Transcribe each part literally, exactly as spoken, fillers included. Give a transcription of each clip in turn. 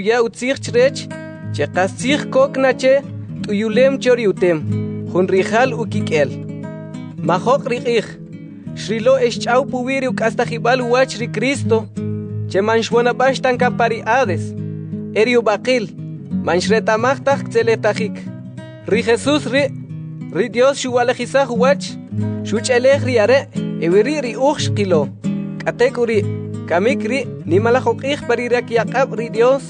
Xuya utzij chrech che qastzij kok na che t'uyulem cho ri utem, jun rija'l ukik'el. Majoq ri q'ij, xrilo e xch'aw puwi' ri uk'astajib'al uwach ri Cristo, che man xwonob'ax ta kan pa ri Hades, e ri ub'aqil man xreta'maj taj ktzeletajik. Ri Jesus ri', ri Dios xuwa'lijisaj uwach, xuch'elej ri Are' e weri' ri uj xqilo. K'atek'uri', kamik ri' nimalaj uq'ij pa ri rikyaq'ab' ri Dios,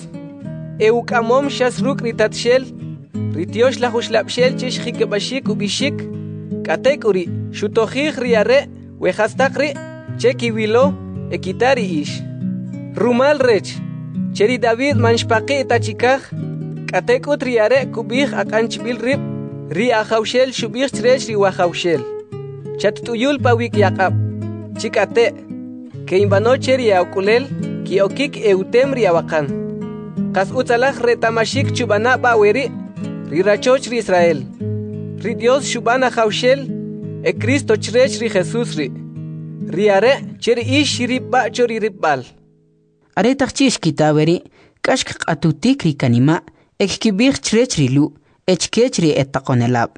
e uk'amom xas ruk' ri Tatxel, ri Tyoxlaj Uxlab'xel che xjikib'axik ub'ixik, k'atek'uri' xutojij ri are' we jastaq ri' che kiwilo e kita ri ix. Rumal rech, che ri David man xpaqi' ta chikaj, k'atek'ut ri are' kub'ij aq'an chb'il rib', ri Ajawxel xub'ij chrech ri Wajawxel: Chatt'uyul pa wikyaq'ab', chik'ate' ke'inb'ano che ri e'ak'ulel ke'okik e'utem ri awaqan. Qas utzalaj reta'maxik chub'ana' b'a' weri' ri rachoch ri Israel. Ri Dios xub'an Ajawxel e Cristo chrech ri Jesus ri', ri Are' che ri ix xiripb'a' cho ri ripb'al. Aretaq chi' xkita weri', k'ax kq'atutik ri kanima' e kkib'ij chrech ri Lu' e chkech ri etaqo'nelab':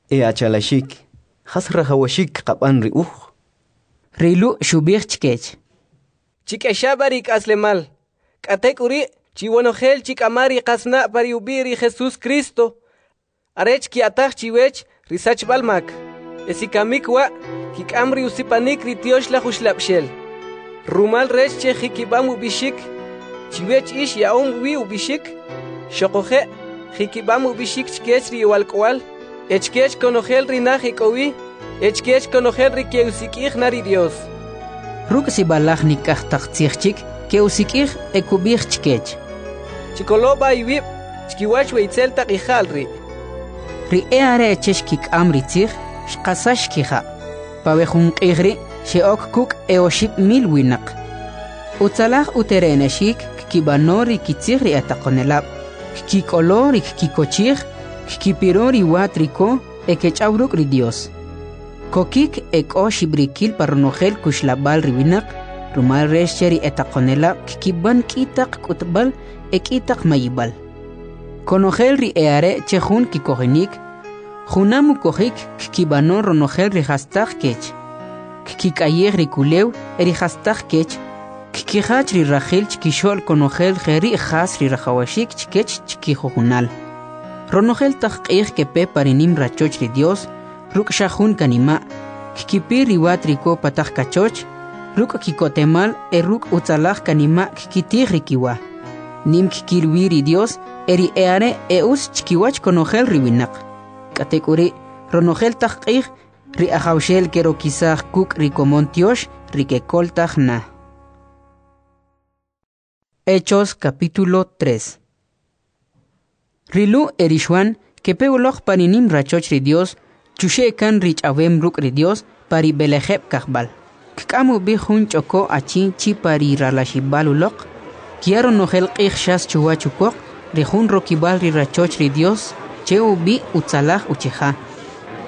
E achalaxik, ¿jas rajawaxik kqab'an ri uj? Ri Lu' xub'ij chkech: Chik'exa b'a ri ik'aslemal, k'atek'uri' chiwonojel chik'ama ri qasna' pa ri ub'i' ri Jesus Cristo, arech kya'taj chiwech ri sachb'al mak, e si kamik wa' kik'am ri usipanik ri Tyoxlaj Uxlab'xel. Rumal rech che jikib'am ub'ixik, chiwech ix ya'om wi ub'ixik, xoquje' jikib'am ub'ixik chkech ri iwalk'o'al, e chkech konojel ri naj ek'o wi, e chkech konojel ri ke'usik'ij na ri Dios. Ruk' sib'alaj nik'aj taq tzij chik ke'usik'ij e kub'ij chkech: Chikolo b'a iwib' chkiwach we itzel taq ija'l ri'. Ri e'are' che xkik'am ri tzij, xqasax kija'. Pa we jun q'ij ri' xe'ok kuk' e oxib' mil winaq. Utzalaj uterene'xik kkib'ano ri kitzij ri etaqo'nelab', kkik'olo ri kkikochij, kkipiro ri wa triko e kech'aw ruk' ri Dios. Kokik e k'o xib'rikil pa ronojel kuxlab'al ri winaq, rumal rech che ri etaqo'nelab' kkib'an k'i taq k'utb'al e k'i taq mayib'al. Konojel ri e'are' che jun kikojonik, junam ukojik kkib'ano ronojel ri jastaq kech. Kkik'ayij ri kulew e ri jastaq kech, kkijach ri rajil chkixo'l konojel jeri' jas ri rajawaxik chkech chkijujunal. Ronojel taq q'ij kepe pa ri nim rachoch ri Dios, ruk' xa jun kanima', kkipir ri wa triko pa taq kachoch, ruk' ki'kotemal e ruk' utzalaj kanima' kkitij ri kiwa. Nim kkil wi ri Dios e ri e'are' e utz chkiwach konojel ri winaq. K'atek'uri', ronojel taq q'ij, ri Ajawxel kerokisaj kuk' ri komon tyox ri kekoltaj na. Hechos capítulo tres. Ri Lu' e ri Xuan kepe uloq pa ri nim rachoch ri Dios, chuxe' kan ri ch'awem ruk' ri Dios pa ri b'elejeb' kajb'al. Kk'am ub'i jun ch'oko achi chi pa ri ralaxib'al uloq, kya ronojel q'ij xas chuwach ukoq ri jun rokib'al ri rachoch ri Dios che ub'i' Utzalaj Uchija,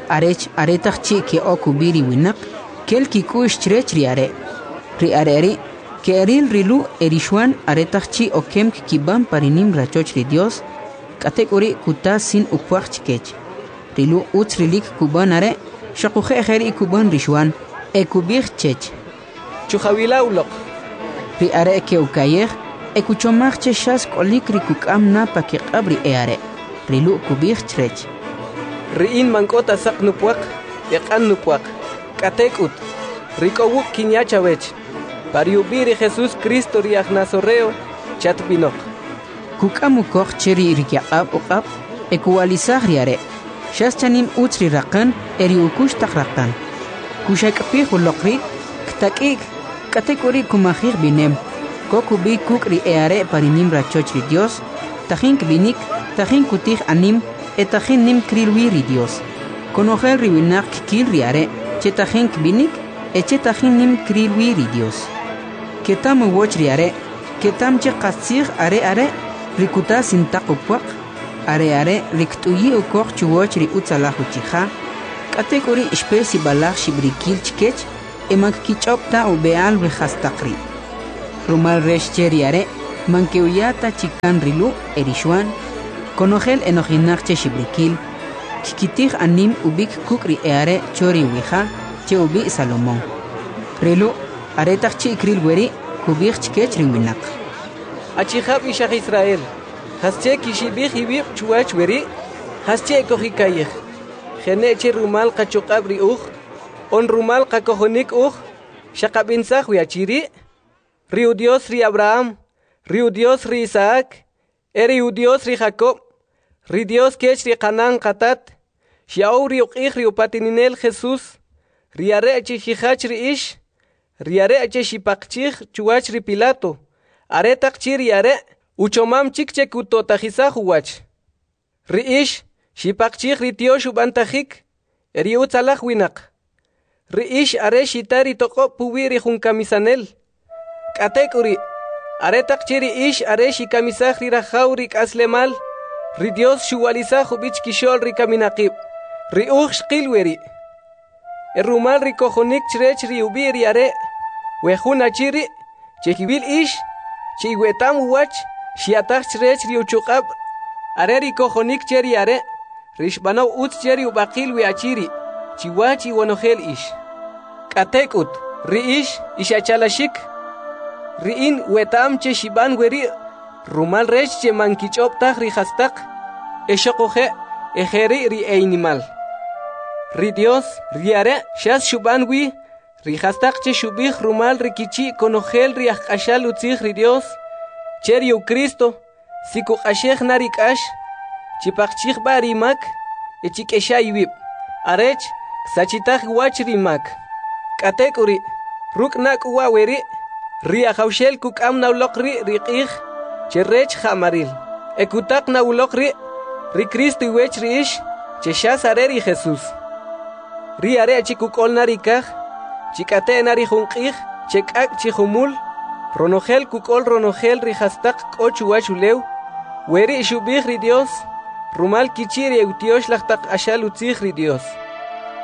arech aretaq chi' ke'ok ub'i ri winaq, kel kik'u'x chrech ri are'. Ri are' ri' ke'ril ri Lu' e ri Xuan aretaq chi' okem kkib'an pa ri nim rachoch ri Dios, k'atek'uri' kuta sin upwaq chkech. Ri Lu' utz rilik kub'an are', xoquje' jeri' kub'an ri Xuan, e kub'ij chech: Chujawila uloq. Ri are' ke'uka'yej e kuchomaj che xas k'olik ri kuk'am na pa kiq'ab' ri e'are'. Ri Lu' kub'ij chrech: Ri in man k'o ta saq nupwaq e q'an nupwaq, k'atek'ut, ri k'o wuk' kinya chawech. Pa ri ub'i' ri Jesus Cristo ri aj Nazareo, chatb'inoq. Kuk'am ukoq che ri rikyaq'ab' uq'ab' e kuwa'lisaj ri are'. Xas chanim utz ri raqan e ri ukux taq raqan. Kuxak'pij uloq rib', ktak'i'k, k'atek'uri' kumajij b'inem. Kok ub'i kuk' ri e'are' pa ri nim rachoch ri Dios, tajin kb'inik, tajin kutij anim e tajin nim kril wi ri Dios. Konojel ri winaq kkil ri are' che tajin kb'inik e che tajin nim kril wi ri Dios. Keta'm uwach ri are', keta'm che qastzij are are' ri kuta sintaq upwaq, are are' ri kt'uyi' ukoq chuwach ri utzalaj uchija. K'atek'uri' xpe sib'alaj xib'rikil chkech e man kkich'ob' ta ub'e'al we jastaq ri'. Rumal rech che ri are' Man ke'uya ta chi kan ri Lu' e ri Xwan, konojel enojinaq che xib'rikil, kkitij anim ub'ik kuk' ri e'are' cho ri uwi'ja che ub'i' Salomon. Ri Lu', aretaq chi' kril weri', kub'ij chkech ri winaq: Achijab' ix aj Israel, ¿jasche kixib'ij iwib' chuwach weri'? ¿Jasche kujika'yej, jene' che rumal qachuq'ab' ri uj, on rumal qakojonik uj, xaqab'insaj we achi ri'? Ri Udyos ri Ab'raham, ri Udyos ri Isa'ak e ri Udyos ri Jakob', ri Dyos kech ri qanan qatat, xya'ow ri uq'ij ri upataninel Jesus, ri are' che xijach ri ix, ri are' che xipaqchij chuwach ri Pilato, aretaq chi' ri are' uchomam chik che kuto'tajisaj uwach. Ri ix xipaqchij ri tyox ub'antajik e ri utzalaj winaq. Ri ix are xita ri toq'ob' puwi' ri jun kamisanel. K'atek'uri', aretaq chi' ri ix are xikamisaj ri rajaw ri k'aslemal, ri Dios xuwa'lisaj ub'i chkixo'l ri kaminaqib'. Ri uj xqil weri'. E rumal ri kojonik chrech ri ub'i' ri are', we jun achi ri' che kiwil ix, che iweta'm uwach, xya'taj chrech ri uchuq'ab' are ri kojonik che ri are', ri xb'anow utz che ri ub'aqil we achi ri', chiwach iwonojel ix. K'atek'ut, ri ix, ix achalaxik, ri in weta'm che xib'an weri' rumal rech che man kich'ob' taj ri jastaq, e xoquje' e jeri' ri e'inimal. Ri Dios, ri are' xas xub'an wi ri jastaq che xub'ij rumal ri kichi' konojel ri ajq'axal utzij ri Dios, che ri Cristo, si kuq'axej na ri k'ax, chipaqchij b'a ri mak e chik'exa iwib', arech ksachitaj uwach ri mak. K'atek'uri', ruk' na k'u wa' weri', ri Ajawxel kuk'am na uloq ri' ri q'ij che rech ja'maril, e kutaq na uloq ri' ri Cristo iwech ri ix, che xas are ri Jesus. Ri are' chi kuk'ol na ri kaj, chik'ate' na ri jun q'ij che k'ak' chi jumul, ronojel kuk'ol ronojel ri jastaq k'o chuwach ulew, weri' xub'ij ri Dios, rumal kichi' ri eutyox laj taq q'axal utzij ri Dios.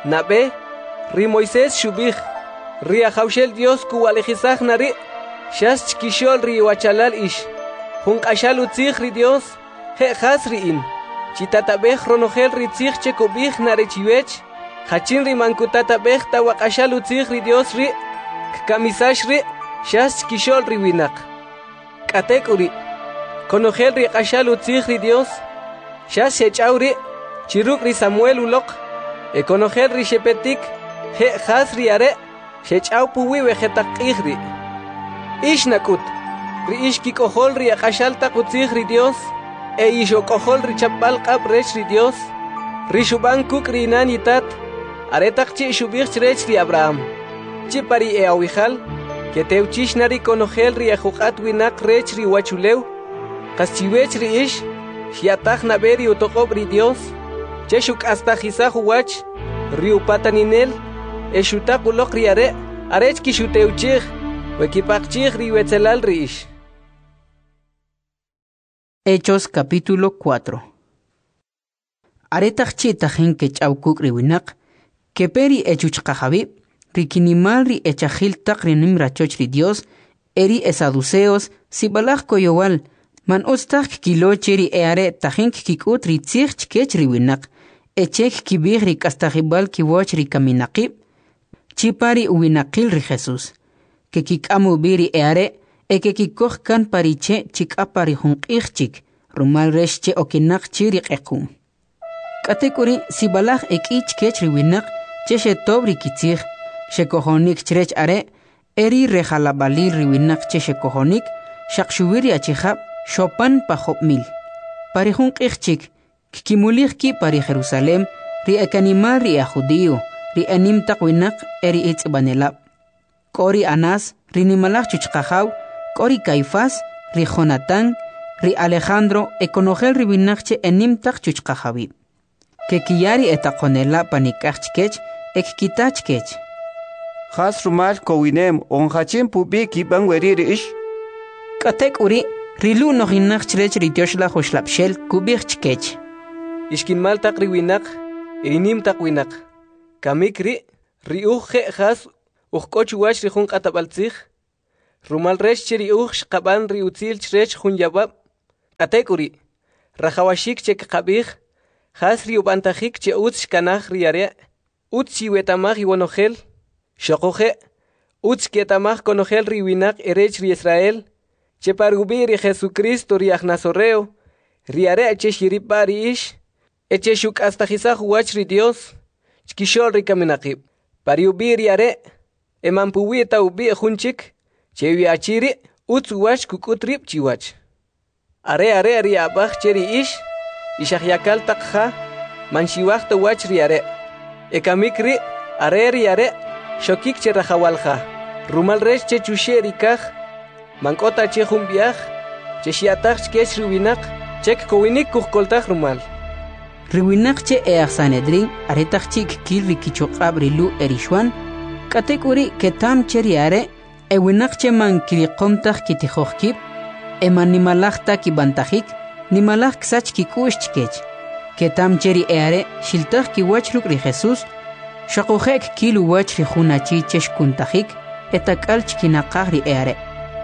Nab'e, ri Moisés xub'ij, ri Ajawxel Dios kuwa'lijisaj na ri' xas chkixo'l ri iwachalal ix, jun q'axal utzij ri Dios, je' jas ri in. Chitatab'ej ronojel ri tzij che kub'ij na ri chiwech, jachin ri man kutatab'ej ta wa q'axal utzij ri Dios ri', kkamisax ri' xas chkixo'l ri winaq. K'atek'uri', konojel ri q'axal utzij ri Dios, xas xech'aw ri' chi ruk' ri Samuel uloq, e konojel ri xepetik, je' jas ri are' xech'aw puwi' we jetaq q'ij ri'. Ix nak'ut, ri ix kik'ojol ri aq'axal taq utzij ri Dios, e ix ok'ojol ri chapb'al q'ab' rech ri Dios, ri xub'an kuk' ri inan itat, aretaq chi' xub'ij chrech ri Abraham, chi pa ri e'awijal, ketewchix na ri konojel ri ejuq'at winaq rech ri uwachulew, qas chiwech ri ix, xya'taj nab'e ri utoq'ob' ri Dios, che xuk'astajisaj uwach ri upataninel, e xutaq uloq ri are' arech kixutewchij, we kipaqchij ri iwetzelal ri ix. Hechos capítulo cuatro. Aretaq chi' tajin kech'aw kuk' ri winaq, kepe ri echuchqajawib', ri kinimal ri echajil taq ri nim rachoch ri Dios, e ri esaduceos sib'alaj koyowal, man utz taj kkilo che ri e'are' tajin kkik'ut ri tzij chkech ri winaq, e che kkib'ij ri k'astajib'al kiwach ri kaminaqib', chi pa ri uwinaqil ri Jesus. Kekik'am ub'i ri e'are' e kekikoj kan pa ri che' chik'a pa ri jun q'ij chik, rumal rech che okinaq chi ri q'equm. K'atek'uri' sib'alaj e k'i chkech ri winaq che xetob' ri kitzij, xekojonik chrech are' e ri rejalab'alil ri winaq che xekojonik, xaq xuwi ri achijab' xopan pa job' mil. Pa ri jun q'ij chik, kkimulij kib' pa ri Jerusalem ri ekanimal ri aj judío, ri enim taq winaq e ri etz'ib'anelab'. K'o ri Anás, ri nimalaj chuchqajaw, k'o ri Caifás, ri Jonatán, ri Alejandro e konojel ri winaq che enim taq chuchqajawib'. Kekiya ri etaqonelab' panik'aj chkech e kkita chkech. Jas rumal kowinem on jachin pub'i kib'an weri' ri ix? K'atek'uri', ri Lu' nojinaq chrech ri tyoxlaj uxlab'xel kub'ij chkech. Ixkinmal taq ri winaq, e ri nim taq winaq. Kamik ri', ri uj je' jas uj k'o chuwach ri jun q'atab'al tzij, Rumal rech che ri uj xqab'an ri utzil chrech jun yawab', k'atek'uri', rajawaxik che kqab'ij, jas ri ub'antajik che utz xkanaj ri are', utz chiweta'maj iwonojel, xoquje' utz chketa'maj konojel ri winaq erech ri Israel, che pa rub'i' ri Jesucristo ri aj Nazoreo, ri are' che xiripb'a' ri ix, e che xuk'astajisaj uwach ri Dios chkixo'l ri kaminaqib'. Pa ri ub'i' ri are', e man puwi' ta ub'i' jun chik, che wi achi ri' utz uwach kuk'ut rib' chiwach. Are are' ri ab'aj che ri ix, ix ajyakal taq ja, man xiwaj ta uwach ri are'. E kamik ri' are ri are' xokik che rajawal ja. Rumal rech che chuxe' ri kaj, man k'o ta che jun b'i'aj, che xya'taj chkech ri winaq, che kkowinik kujkoltaj rumal. Ri winaq che e aj Sanedrín aretaq chi' kkil ri kichuq'ab' ri Lu' e ri Xwan, k'atek'uri' ketam che ri are' e winaq che man kiriqom taj kitijoj kib', e man nimalaj ta kib'antajik, nimalaj ksach kik'u'x chkech. Ketam che ri e are' xiltaj kiwach ruk' ri Jesús, xoquje' kkil uwach ri jun achi che xkuntajik, e tak'al chkinaqaj ri e are'.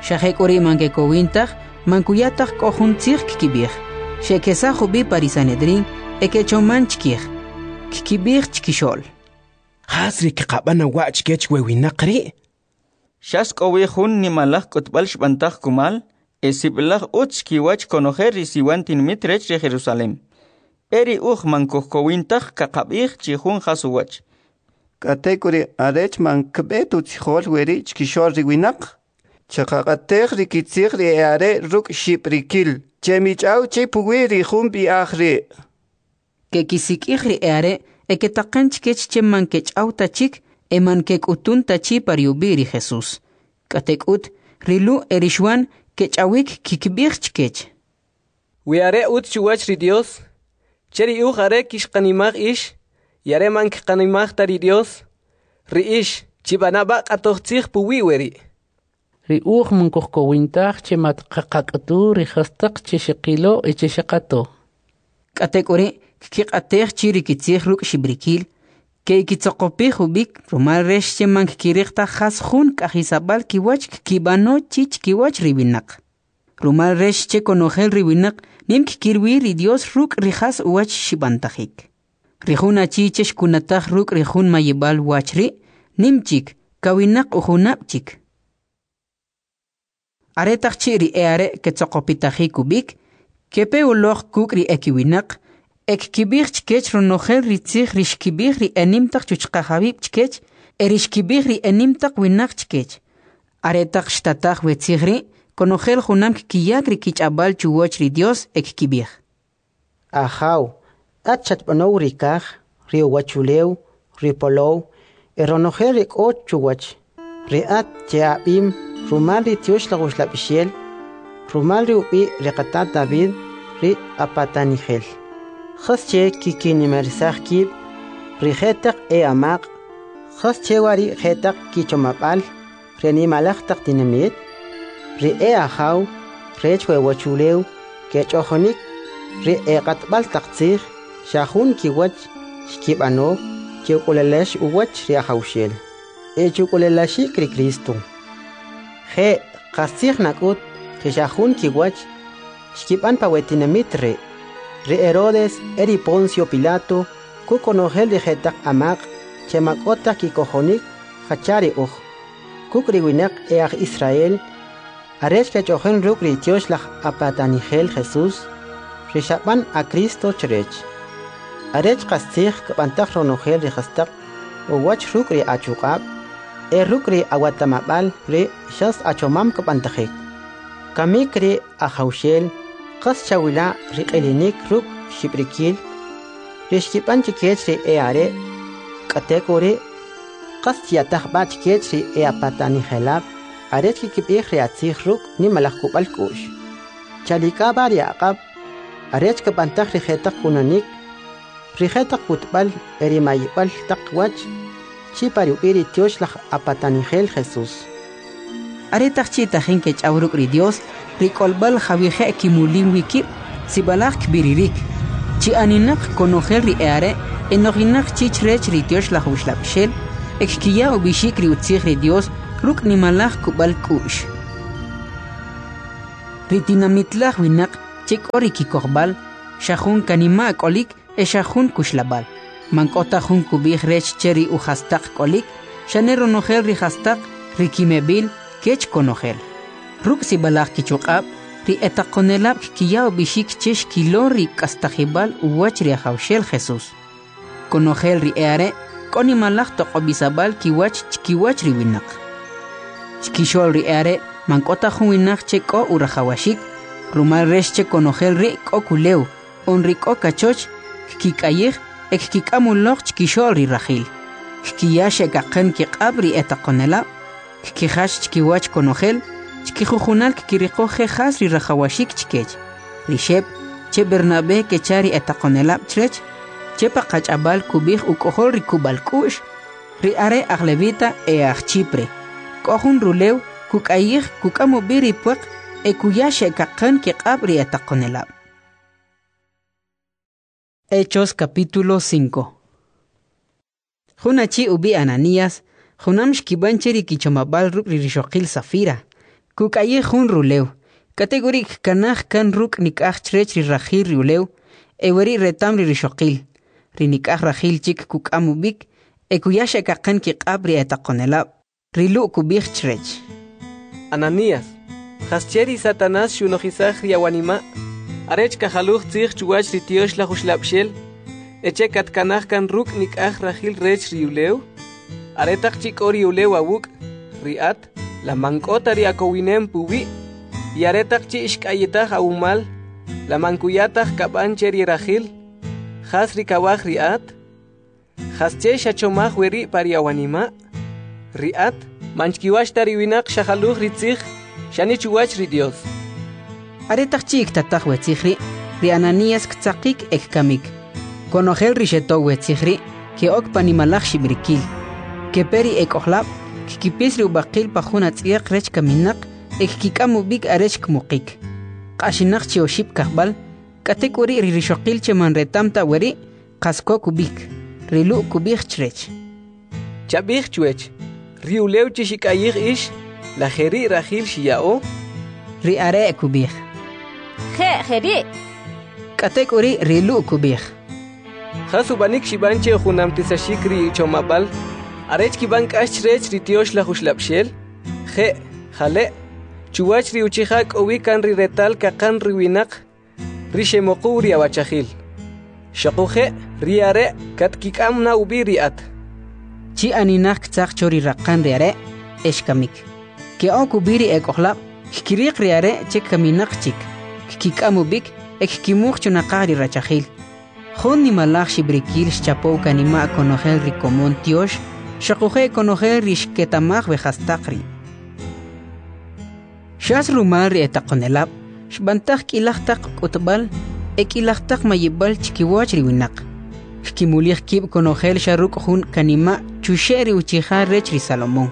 Xa jek'uri' man kekowin taj, man kuya taj k'o jun tzij kkib'ij. Xe'kesaj ub'i pa ri Sanedrín e kechoman chkij. Kkib'ij chkixo'l: Jas ri kqab'an na wa' chkech we winaq ri'? Xas k'o wi jun nimalaj k'utb'al xb'antaj kumal, e sib'alaj utz chkiwach konojel ri siwan tinamit rech ri Jerusalem. E ri uj man kujkowin taj kaqab'ij chi jun jas uwach. K'atek'uri' arech man kb'e ta utzijol weri' chkixo'l ri winaq, chaqaq'atej ri kitzij ri e are' ruk' xib'rikil, che mich'aw che puwi' ri jun b'i'aj ri'. Kekisik'ij ri e are' e ketaqan chkech che man kech'aw ta chik e man kek'utun ta chi pa ri ub'i' ri Jesús. K'atek'ut, ri Lu' e ri Xwan kech'awik kikb'ij chkech: We are utz chuwach ri Dios, che ri uj are kixqanimaj ix, y are man kqanimaj ta ri Dios, ri ix chib'ana b'a' q'atoj tzij puwi' weri'. Ri uj man kujkowin taj che mat qaqak'utu ri jastaq che xeqilo e che xeqato. K'atek'uri' kkiq'atej chi ri kitzij ruk' xib'rikil, ke'kitzoqopij ub'ik rumal rech che man kkiriq taj jas jun k'ajisab'al kiwach kkib'ano chi chkiwach ri winaq. Rumal rech che konojel ri winaq nim kkil wi ri Dios ruk' ri jas uwach xib'antajik. Ri jun achi che xkunataj ruk' ri jun mayib'al wach ri', nim chik, kawinaq ujunab' chik. Aretaq chi' ri e are' ketzoqopitajik ub'ik, kepe uloq kuk' ri ekiwinaq, e kkib'ij chkech ronojel ri tzij ri xkib'ij ri enim taq chuchqajawib' chkech e ri xkib'ij ri enim taq winaq chkech. Aretaq xtataj we tzij ri', konojel junam kkiyak ri kich'ab'al chuwach ri Dios e kkib'ij: Ajaw, at xatb'anow ri kaj, ri uwachulew, ri polow, e ronojel ri k'o chuwach. Ri at che ab'im rumal ri Tyoxlaj Uxlab'ixel, rumal ri ub'i' ri qatat David, ri apatanijel. Jas che kikinimarisaj kib' ri jetaq e amaq', jas che wa ri jetaq kichomab'al ri nimalaj taq tinamit, ri e ajaw rech we uwachulew kech'ojonik, ri e q'atb'al taq tzij xa jun kiwach xkib'ano che uk'ulelax uwach ri Ajawxel, e chuk'ulelaxik ri Cristo. Je' qastzij nak'ut che xa jun kiwach xkib'an pa we tinamit ri'. Ri Herodes e ri Poncio Pilato kukonojel ri jetaq amaq' che ma k'o taj kikojonik jacha ri uj, kuk' ri winaq e aj Israel, arech kech'ojen ruk' ri Tyoxlaj apatanijel Jesús, ri xab'an a Cristo chrech. Arech qastzij kb'antaj ronojel ri jastaq uwach ruk' ri achuq'ab', e ruk' ri awatamab'al ri xas achomam kb'antajik. Kamik ri Ajawxel qas chawila' ri q'ilinik ruk' xib'rikil, ri xkib'an chkech ri e are', k'atek'uri' qas chyataj b'a' chkech ri e apatanijelab' arech kikib'ij ri atzij ruk' nimalaj kub'al k'u'x. Chalik'a b'a' ri aq'ab' arech kb'antaj ri jetaq kunanik, ri jetaq k'utb'al e ri mayib'al taq wach, chi pa ri ub'i' ri Tyoxlaj apatanijel Jesús. Aretaq chi' tajin kech'aw ruk' ri Dios, ri k'olb'al jawije' kimulim wi kib' sib'alaj kb'iririk. Chi aninaq konojel ri e are' enojinaq chi chrech ri Tyoxlaj Uxlab'ixel e kkiya ub'ixik ri utzij ri Dios ruk' nimalaj kub'al k'u'x. Ri tinamitlaj winaq che k'o ri kikojb'al, xa jun kanima' k'olik e xa jun kuxlab'al. Man k'o ta jun kub'ij rech che ri ujastaq k'olik, xane ronojel ri jastaq, ri kimeb'il, kech konojel. Ruk' sib'alaj kichuq'ab', ri etaqonelab' kkiya ub'ixik che xkilo ri k'astajib'al uwach ri Ajawxel Jesús. Konojel ri e'are' k'o nimalaj toq'ob'isab'al kiwach chkiwach ri winaq. Chkixo'l ri e'are' man k'o ta jun winaq che k'o urajawaxik, rumal rech che konojel ri' k'o kulew, on ri k'o kachoch, kkik'ayij e kkik'am uloq chkixo'l ri rajil. Kkiya xe'kaqan kiq'ab' ri etaqonelab', kkijach chkiwach konojel, chkijujunal kkiriqo je jas ri rajawaxik chkech. Ri Xeb' che Bernabé kecha ri etaqonelab' chrech, che pa qach'ab'al kub'ij uk'ojol ri kub'al k'u'x, ri are' aj Levita e aj Chipre. K'o jun rulew kuk'ayij kuk'am ub'i ri pwaq e kuya xe'kaqan kiq'ab' ri etaqonelab'. Hechos capítulo cinco. Jun achi ub'i Ananías, junam xkib'an che ri kichomab'al ruk' ri rixoqil Safira, kuk'ayij jun rulew, k'atek'uri' kkanaj kan ruk' nik'aj chrech ri rajil ri ulew, e weri' retam ri rixoqil. Ri nik'aj rajil chik kuk'am ub'ik, e kuya xe'kaqan kiq'ab' ri etaqonelab'. Ri Lu' kub'ij chrech: Ananías, jasche ri Satanás xunojisaj ri awanima' arech kajaluj tzij chuwach ri Tyoxlaj Uxlab'xel, e che katkanaj kan ruk' nik'aj rajil rech ri ulew? Aretaq chi' k'o ri ulew awuk', ri at, la man k'o ta ri akowinem puwi', y aretaq chi' xk'ayitaj awumal, la man kuya taj kab'an che ri rajil, jas ri kawaj ri at? Jasche xachomaj weri' pa ri awanima'? Ri at, man chkiwach ta ri winaq xajaluj ri tzij, xani chuwach ri Dios. Aretaq chi' ktataj we tzij ri', ri Ananías ktzaqik e kkamik. Konojel ri xetow we tzij ri' ke'ok pa nimalaj xib'rikil. Kepe ri ek'ojlab', kkipis ri ub'aqil pa jun atz'yaq rech kaminaq e kkik'am ub'ik arech kmuqik. Q'axinaq chi oxib' kajb'al, k'atek'uri' ri rixoqil che man retam ta weri', qas kok ub'ik. Ri Lu' kub'ij chrech: Chab'ij chwech, ri ulew che xik'ayij ix, la jeri' rajil xiya'o? Ri are' kub'ij: Je' jeri'. K'atek'uri' ri Lu' kub'ij: Jas ub'anik xib'an che ujunamtisaxik ri chomab'al arech kib'an k'ax chrech ri Tyoxlaj Uxlab'xel? Je', jale', chuwach ri uchija k'o wi kan ri retal kaqan ri winaq, ri xemuquw ri awachajil. Xoquje' ri are' katkik'am na ub'i ri at. Chi aninaq ktzaq cho ri raqan ri are' e xkamik. Ke'ok ub'i ri ek'ojlab', kkiriq ri are' che kaminaq chik, kkik'am ub'ik e kkimuq chunaqaj ri rachajil. Jun nimalaj xib'rikil xchapow kanima' konojel ri komon tyox, xoquje' konojel ri xketamaj we jastaq ri'. Xas rumal ri etaqonelab', xb'antaj k'ilaj taq k'utb'al e k'ilaj taq mayib'al chkiwach ri winaq. Kkimulij kib' konojel xa ruk' jun kanima' chuxe' ri uchija rech ri Salomón.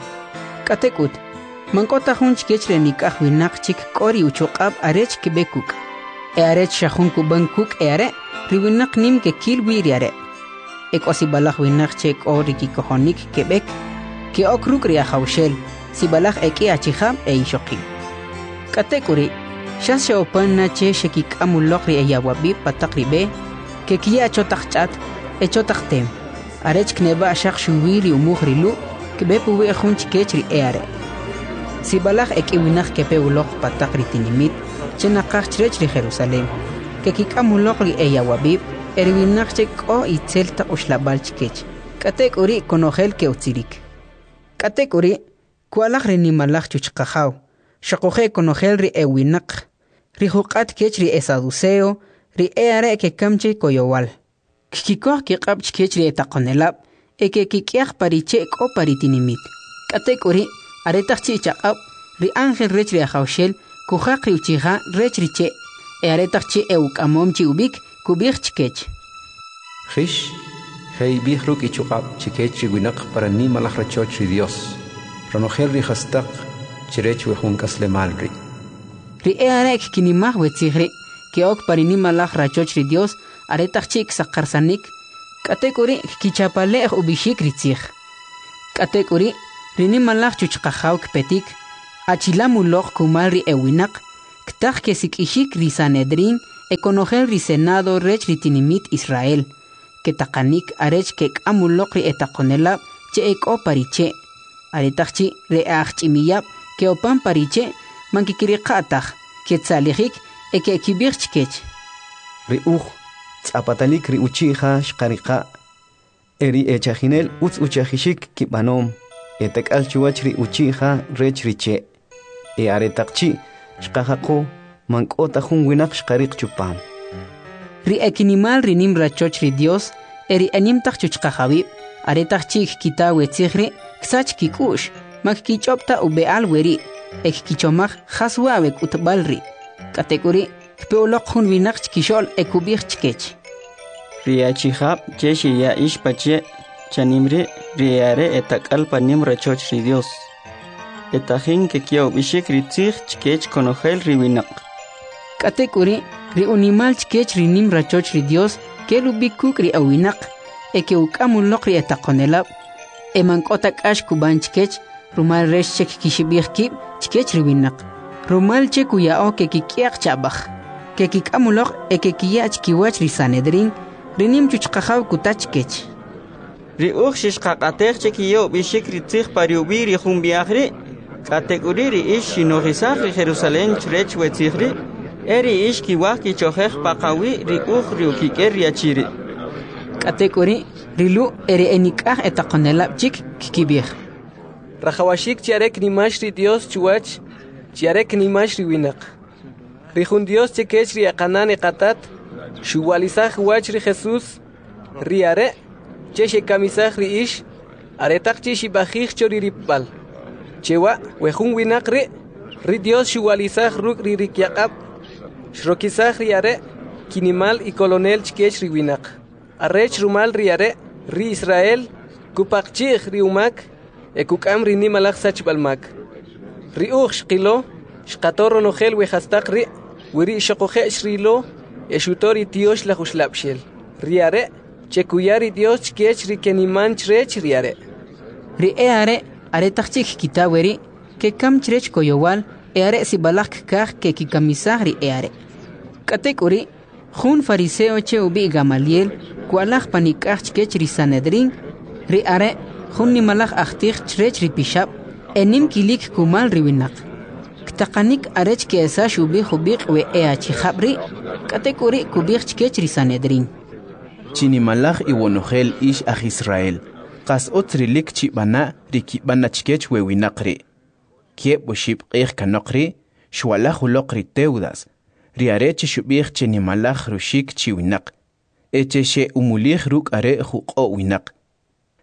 K'atek'ut, man k'o ta jun chkech ri nik'aj winaq chik k'o ri uchuq'ab' arech kb'e kuk'. E arech xa jun kub'an kuk' e are', ri winaq nim kekil wi ri are'. E k'o sib'alaj winaq che k'o ri kikojonik keb'ek, ke'ok ruk' ri Ajawxel, sib'alaj e k'i achijab' e ixoqib'. K'atek'uri', xas xe'opan na che xekik'am uloq ri eyawab'ib' pa taq ri b'e, kekiya cho taq ch'at e cho taq tem, arech kneb'a' xaq xuwi ri umuj ri Lu' kb'e puwi' jun chkech ri e'are'. Sib'alaj e k'i winaq kepe uloq pa taq ri tinimit che naqaj chrech ri Jerusalem, kekik'am uloq ri eyawab'ib' e ri winaq che k'o itzel taq uxlab'al chkech, k'atek'uri' konojel ke'utzirik. K'atek'uri', kwa'laj ri nimalaj chuchqajaw, xoquje' konojel ri ewinaq, ri juq'at kech ri esaduceo, ri e'are' kekam che koyowal. Kkikoj kiq'ab' chkech ri etaqonelab' e kekik'yaq pa ri che' k'o pa ri tinimit. K'atek'uri', aretaq chi' chaq'ab', ri ángel rech ri Ajawxel kujaq ri uchija rech ri che' e aretaq chi' e'uk'amom chi ub'ik, kub'ij chkech: Jix, je'ib'ij ruk' ichuq'ab' chikech ri winaq pa ri nimalaj rachoch ri Dios, ronojel ri jastaq chrech we jun k'aslemal ri'. Ri e'are' kkinimaj we tzij ri', ke'ok pa ri nimalaj rachoch ri Dios aretaq chi' ksaqarsanik, k'atek'uri' kkichapale'j ub'ixik ri tzij. K'atek'uri', ri nimalaj chuchqajaw kpetik, achilam uloq kumal ri ewinaq, Ktaq kesik'ixik ri Sanedrín e konojel ri Senado rech ri tinimit Israel. Ketaqanik arech kek'am uloq ri etaqonelab' che ek'o pa ri che'. Aretaq chi' ri e'ajch'imiyab' ke'opan pa ri che', man kkiriqa' taj, ketzalijik e ke'kib'ij chkech: Ri uj tz'apatalik ri uchi' ja xqariqa', e ri echajinel utz uchajixik kib'anom, etak'al chuwach ri uchi' ja rech ri che'. E aretaq chi' xqajaqo, man k'o ta jun winaq xqariq chupam. Ri ekinimal ri nim rachoch ri Dios e ri enim taq chuchqajawib', aretaq chi' kkita we tzij ri', ksach kik'u'x, man kkich'ob' ta ub'e'al weri' e kkichomaj jas wa' we k'utb'al ri'. K'atek'uri', kpe uloq jun winaq chkixo'l e kub'ij chkech: Ri achijab' che xiya ix pache' chanim ri', ri e'are' etak'al pa nim rachoch ri Dios, e tajin kkiya ub'ixik ri tzij chkech konojel ri winaq. K'atek'uri', ri unimal chkech ri nim rachoch ri Dios kel ub'i kuk' ri ewinaq e ke'uk'am uloq ri etaqonelab', e man k'o ta k'ax kub'an chkech, rumal rech che kkixib'ij kib' chkech ri winaq, rumal che kuya'o kekik'yaq cha'b'aj. Kekik'am uloq e kekiya' chkiwach ri Sanedrín, ri nim chuchqajaw kuta chkech: Ri uj xixqaq'atej che kiya ub'ixik ri tzij pa ri ub'i' ri jun b'i'aj ri', k'atek'uri' ri ix xinojisaj ri Jerusalem chrech we tzij ri', e ri ix kiwaj kichojej paqawi' ri uj ri ukik'el ri achi ri'. K'atek'uri', ri Lu' e ri enik'aj etaqonelab' chik kkib'ij: Rajawaxik chi are knimax ri Dios chuwach chi are knimax ri winaq. Ri jun Dios che kech ri eqanan eqatat xuwa'lisaj uwach ri Jesus, ri are' che xekamisaj ri ix aretaq chi' xib'ajij cho ri ripb'al. Chewa' we jun winaq ri', ri Dios xuwa'lisaj ruk' ri rikyaq'ab', xrokisaj ri are' kinimal y kolonel chkech ri winaq, arech rumal ri are' ri Israel kupaqchi'j ri umak e kuk'am ri nimalaj sachb'al mak. Ri uj xqilo, xqato ronojel we jastaq ri', weri' xoquje' xrilo e xuto ri Tyoxlaj Uxlab'xel, ri are' che kuya ri Dios chkech ri keniman chrech ri are'. Ri e'are' aretaq chi' kkita weri', kekam chrech koyowal e are sib'alaj kkaj kekikamisaj ri e'are'. K'atek'uri', jun fariseo che ub'i' Gamaliel kwa'laj panik'aj chkech ri Sanedrín, ri are' jun nimalaj ajtij chrech ri pixab' e nim kilik kumal ri winaq. Ktaqanik arech ke'esax ub'i jub'iq' we e'achijab' ri', k'atek'uri' kub'ij chkech ri Sanedrín: Chinimalaj iwonojel ix aj Israel, qas utz rilik chib'ana' ri kib'an na chkech we winaq ri'. Kieb' oxib' q'ij kanoq ri', xwa'laj uloq ri Teudas, ri are' che xub'ij che nimalaj ruxik chi winaq, e che xe'umulij ruk' are' juq'o' winaq.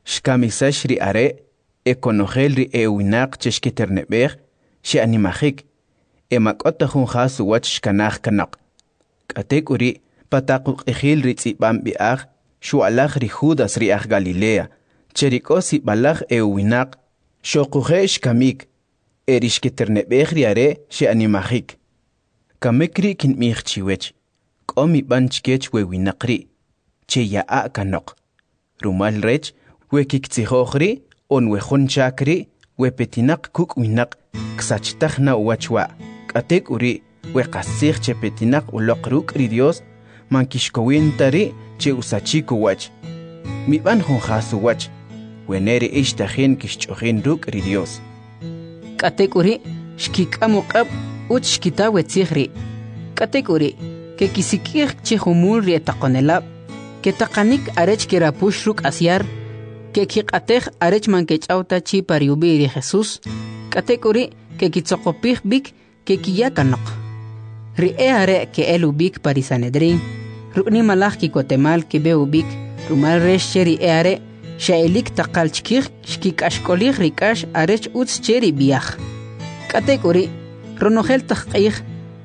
Xkamisax ri are' e konojel ri e'uwinaq che xkiterneb'ej xe'animajik, e ma k'o ta jun jas uwach xkanaj kanoq. K'atek'uri', pa taq uq'ijil ri tz'ib'am b'i'aj, xwa'laj ri Judas ri aj Galilea, che ri k'o sib'alaj e'uwinaq, xoquje' xkamik, e ri xkiterneb'ej ri are' xe'animajik. Kamik ri' kinb'ij chiwech, k'o mib'an chkech we winaq ri', cheya'a' kanoq. Rumal rech, we kiktzijoj ri' on we jun chak ri' we petinaq kuk' winaq, ksachtaj na uwach wa'. K'atek'uri', we qastzij che petinaq uloq ruk' ri Dios, man kixkowin ta ri' che usachik uwach. Mib'an jun jas uwach, wene ri ix tajin kixch'ojin ruk' ri Dios. K'atek'uri', xkik'am uq'ab' utz xkita we tzij ri'. K'atek'uri', kekisik'ij chi jumul ri etaqonelab', ketaqanik arech kerapux ruk' asyar, kekiq'atej arech man kech'aw ta chi pa ri ub'i' ri Jesús, k'atek'uri' kekitzoqopij b'ik kekiya kanoq. Ri e'are' ke'el ub'ik pa ri Sanedrín, ruk' nimalaj ki'kotemal keb'e ub'ik, rumal rech che ri e'are' xe'elik taqal chkij xkik'axk'olij ri k'ax arech utz che ri b'i'aj. K'atek'uri', ronojel taq q'ij,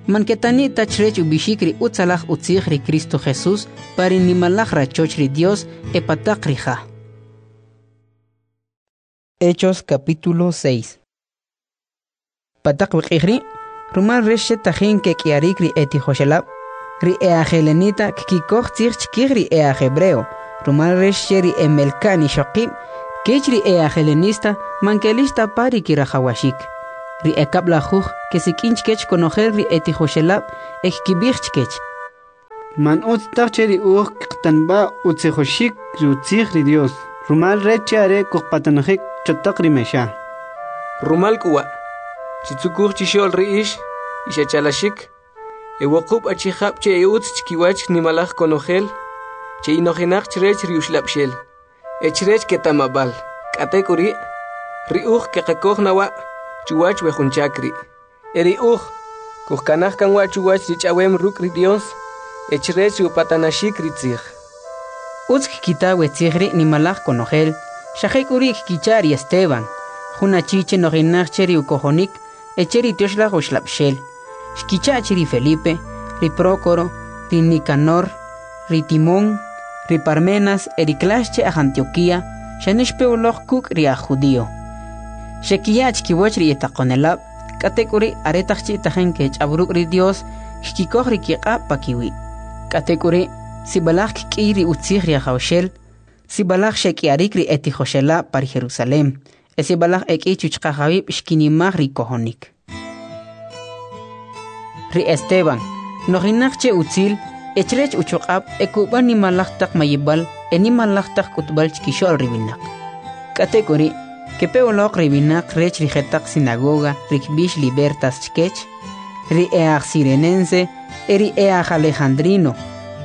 man ketani' ta chrech ub'ixik ri utzalaj utzij ri Cristo Jesús pa ri nimalaj rachoch ri Dios e pa taq ri ja. Hechos capítulo seis. Pa taq we q'ij ri', rumal rech che tajin kek'iyarik ri etijoxelab', ri e'ajelenita kkikoj tzij chkij ri e'ajhebreo, rumal rech che ri emelka'n ixoqib' kech ri e'ajelenista man kelix ta pa ri kirajawaxik. Ri ekab'lajuj kesik'in chkech konojel ri etijoxelab' e kkib'ij chkech: Man utz taj che ri uj kqatanb'a' utzijoxik ri utzij ri Dios, rumal rech che are kujpatanajik cho taq ri mexa. Rumal k'u wa', chitzukuj chixo'l ri ix, ix achalaxik, e wuqub' achijab' che e utz chkiwach nimalaj konojel, che inojinaq chrech ri uxlab'xel, e chrech keta'mab'al. K'atek'uri', ri uj keqakoj na wa' chuwach we jun chak ri'. E ri uj kujkanaj kan wa' chuwach ri ch'awem ruk' ri Dios, e chrech ri upatanaxik ri tzij. Utz kkita we tzij ri' nimalaj konojel, xa jek'uri' kkicha' ri Esteban, jun achi che nojinaq che ri ukojonik e che ri Tyoxlaj Uxlab'xel. Xkicha' chi ri Felipe, ri Prócoro, ri Nicanor, ri Timón, ri Parmenas e ri Klax che aj Antioquía, xane xpe uloq kuk' ri aj judío. Xekiya' chkiwach ri etaqonelab', k'atek'uri' aretaq chi' tajin kech'aw ruk' ri Dios, kkikoj ri kiq'ab' pakiwi'. K'atek'uri', sib'alaj kk'iy ri utzij ri Ajawxel, sib'alaj xek'iyarik ri etijoxelab' pa ri Jerusalem, e sib'alaj ek'i chuchqajawib' xkinimaj ri kojonik. Ri Esteban, nojinaq che utzil, e chrech uchuq'ab' e kub'an nimalaj taq mayib'al e nimalaj taq k'utb'al chkixo'l ri winaq. K'atek'uri', kepe uloq ri winaq rech ri jetaq sinagoga ri kb'ix Libertas chkech, ri e'aj Sirenense e ri e'aj Alejandrino,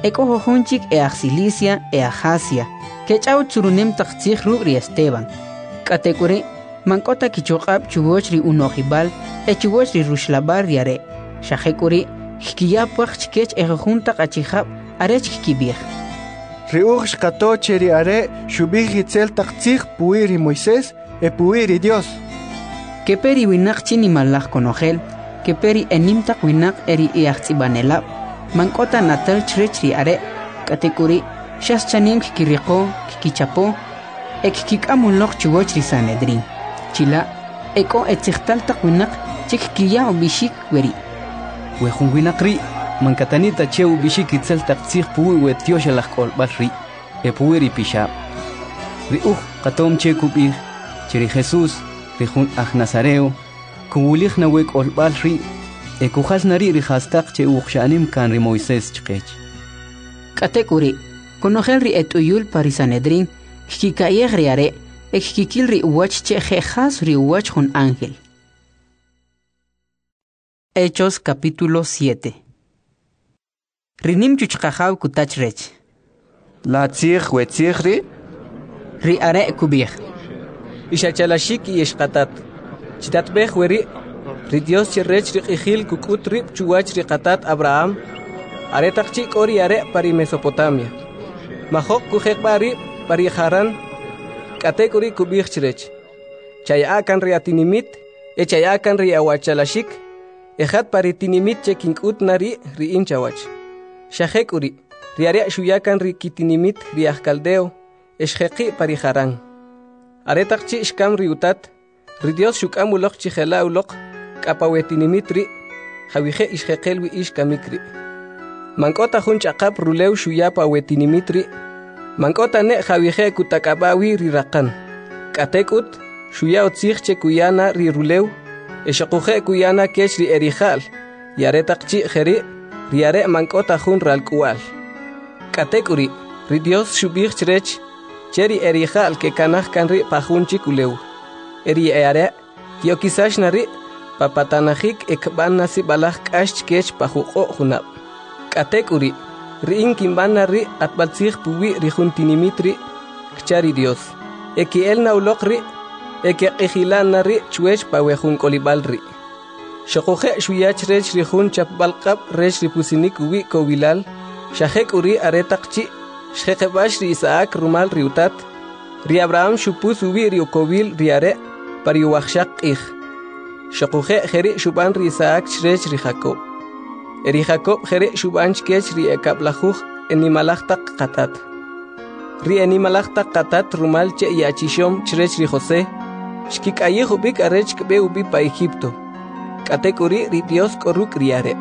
e k'o jujun chik e'aj Cilicia e aj Asia, kech'aw tzurunem taq tzij ruk' ri Esteban. K'atek'uri', man k'o ta kichuq'ab' chuwach ri uno'jib'al e chuwach ri ruxlab'al ri are'. Xa jek'uri' kkiya pwaq chkech e jujun taq achijab' arech kkib'ij: Ri uj xqato che ri are' xub'ij itzel taq tzij puwi' ri Moisés e puwi' ri Dios. Kepe ri winaq chi nimalaj konojel, kepe ri enim taq winaq e ri e'ajtz'ib'anelab', man k'o ta natal chrech ri are'. K'atek'uri' xas chanim kkiriqo, kkichapo, e kkik'am uloq chuwach ri Sanedrín. Chila' e k'o etzijtal taq winaq che kkiya ub'ixik weri': We jun winaq ri' man katani' ta che ub'ixik itzel taq tzij puwi' we tyoxalaj k'olb'al ri' e puwi' ri pixab'. Ri uj qatom che kub'ij che ri Jesús, ri jun aj Nazareo, kuwulij na we k'olb'al ri' e kujal na ri' ri jastaq che uqxa'nim kan ri Moisés chqech. K'atek'uri', konojel ri et'uyul pa ri Sanedrín kkika'yej ri are' e kkikil ri uwach che je' jas ri uwach jun ángel. Hechos capítulo siete. Ri nim chuchqajaw kuta chrech: La tzij we tzij ri'? Ri are' kub'ij: Ix achalaxik y ix qatat, chitatb'ej weri', ri Dios che rech ri q'ijil kuk'ut rib' chuwach ri qatat Abraham, aretaq chi' k'o ri are' pa ri Mesopotamia. Majoq kujeqb'a' rib' pa ri Haran, k'atek'uri' kub'ij chrech: Chaya'a kan ri atinimit e chaya'a kan ri awachalaxik, e jat pa ri tinimit che kink'ut na ri' ri in chawach. Xa jek'uri', ri are' xuya kan ri kitinimit ri aj Caldeo, e xjeqi' pa ri Haran. Aretaq chi' xkam ri utat, ri Dios xuk'am uloq chi jela' uloq k'a pa we tinimit ri', jawije' ixjeqel wi ix kamik ri'. Man k'o ta jun ch'aqap rulew xuya pa we tinimit ri', man k'o ta ne' jawije' kutak'ab'a wi ri raqan. K'atek'ut, xuya utzij che kuya na ri rulew, e xoquje' kuya na kech ri erija'l, y aretaq chi' jeri', ri are' man k'o ta jun ralk'uwa'l. K'atek'uri', ri Dios xub'ij chrech che ri erija'l kekanaj kan ri' pa jun chik ulew. E ri e'are' ke'okisax na ri' pa patanajik e kb'an na sib'alaj k'ax chkech pa juq'o' junab'. K'atek'uri', ri in kinb'an na ri' q'atb'altzij puwi' ri jun tinimit ri', kcha ri Dios. E ke'el na uloq ri', e keq'ijilan na ri' chwech pa we jun k'olib'al ri'. Xoquje' xuya chrech ri jun chapb'al q'ab' rech ri pusinik uwi' kowilal, xa jek'uri' aretaq chi' xjeqeb'ax ri Isaac rumal ri utat, ri Abraham xupus uwi' ri ukowil ri are' pa ri uwajxaq q'ij. Xoquje' jeri' xub'an ri Isaac chrech ri Jacob. E ri Jacob jeri' xub'an chkech ri ekab'lajuj enimalaj taq qatat. Ri enimalaj taq qatat rumal che yachixom chrech ri José, xkik'ayij ub'ik arech kb'e ub'i pa Egipto. K'atek'uri' ri Dios k'o ruk' ri are'.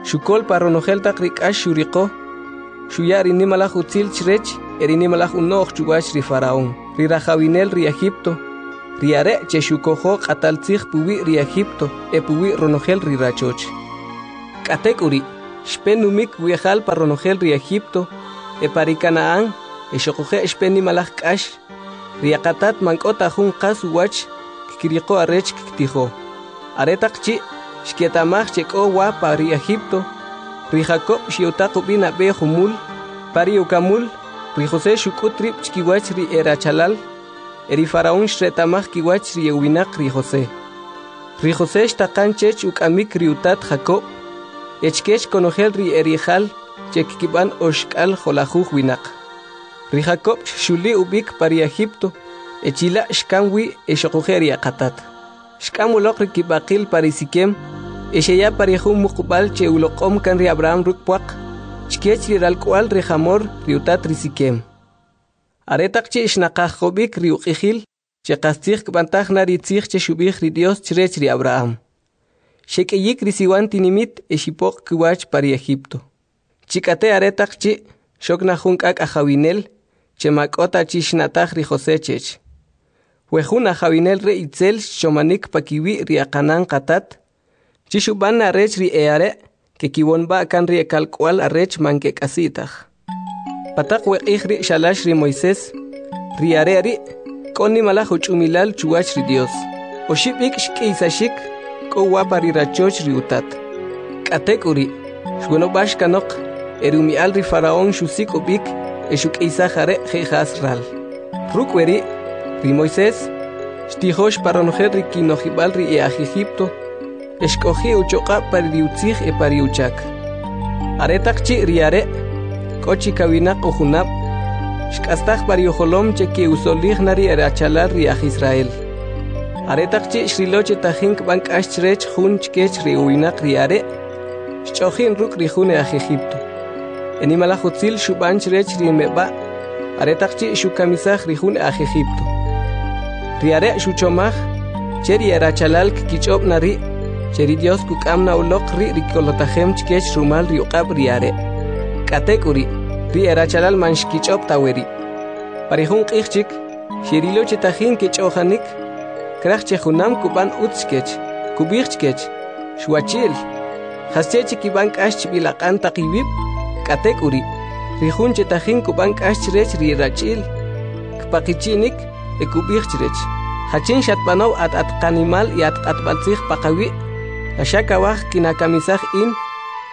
Xukol pa ronojel taq ri k'ax xuriqo, xuya ri nimalaj utzil chrech e ri nimalaj uno'j chuwach ri Faraón, ri rajawinel ri Egipto, Ri are' che xukojo q'atal tzij puwi' ri Egipto e puwi' ronojel ri rachoch. K'atek'uri', xpe numik wi'jal pa ronojel ri Egipto e pa ri Kana'an e xoquje' xpe nimalaj k'ax. Ri aqatat man k'o ta jun qas uwach kkiriqo arech kkitijo. Aretaq chi' xketa'maj che k'o wa pa ri Egipto, ri Jacob xe'utaq ub'i nab'e jumul. Pa ri ukamul, ri José xuk'ut rib' chkiwach ri erachalal, e ri Faraón xreta'maj kiwach ri e'uwinaq ri José. Ri José xtaqan chech uk'amik ri utat Jacob, e chkech konojel ri eri'jal che kkib'an oxk'al jo'lajuj winaq. Ri Jacob xxuli ub'ik pa ri Egipto, e chila' xkam wi e xoquje' ri aqatat. Xk'am uloq ri kib'aqil pa ri Siquem, e xeya pa ri jun muqub'al che uloq'om kan ri Abraham ruk' pwaq, chkech ri ralk'wa'l ri Jamor, ri utat ri Siquem. Aretaq chi' xnaqajob'ik ri uq'ijil, che qastzij kb'antaj na ri tzij che xub'ij ri Dios chrech ri Abraham. Xek'iyik ri siwan tinimit e xipoq' kiwach pa ri Egipto. Chik'ate aretaq chi' xok na jun k'ak' ajawinel, che ma k'o ta chi xna'taj ri José chech. We jun ajawinel re itzel xchomanik pakiwi' ri aqanan qatat, chi xub'an na rech ri e'are' kekiwonb'a' kan ri ekalk'wa'l arech man kek'asi' taj. Pa taq we q'ij ri' xalax ri Moisés, ri are' ri' k'o nimalaj uch'umilal chuwach ri Dios. Oxib' ik' xk'iysaxik, k'o wa pa ri rachoch ri utat. K'atek'uri', xwonob'ax kanoq, e ri umi'al ri Faraón xusik' ub'ik e xuk'iysaj are' je' jas ral. Ruk' weri', ri Moisés xtijox pa ronojel ri kinojib'al ri e'aj Egipto, e xk'oji' uchoq'ab' pa ri utzij e pa ri uchak. Aretaq chi' ri are' k'o chi kawinaq ujunab', xk'astaj pa ri ujolom che ke'usolij na ri erachalal ri aj Israel. Aretaq chi' xrilo che tajin kb'an k'ax chrech jun chkech ri uwinaq ri are', xch'o'jin ruk' ri jun aj Egipto. E nimalaj utzil xub'an chrech ri meb'a' aretaq chi' xukamisaj ri jun aj Egipto. Ri are' xuchomaj che ri erachalal kkich'ob' na ri' che ri Dios kuk'am na uloq ri' ri kolotajem chkech rumal ri uq'ab' ri are'. K'atek'uri', ri erachalal man xkich'ob' ta weri'. Pa ri jun q'ij chik, xerilo che tajin kech'o'janik, kraj che junam kub'an utz chkech, kub'ij chkech: Xwachi'l, jasche che kib'an k'ax chb'il aq'an taq iwib'? K'atek'uri', ri jun che tajin kub'an k'ax chrech ri rachi'l, kpaqichi'nik e kub'ij chrech: Jachin xatb'anow at at qanimal y at q'atb'altzij paqawi'? La xa kawaj kinakamisaj in,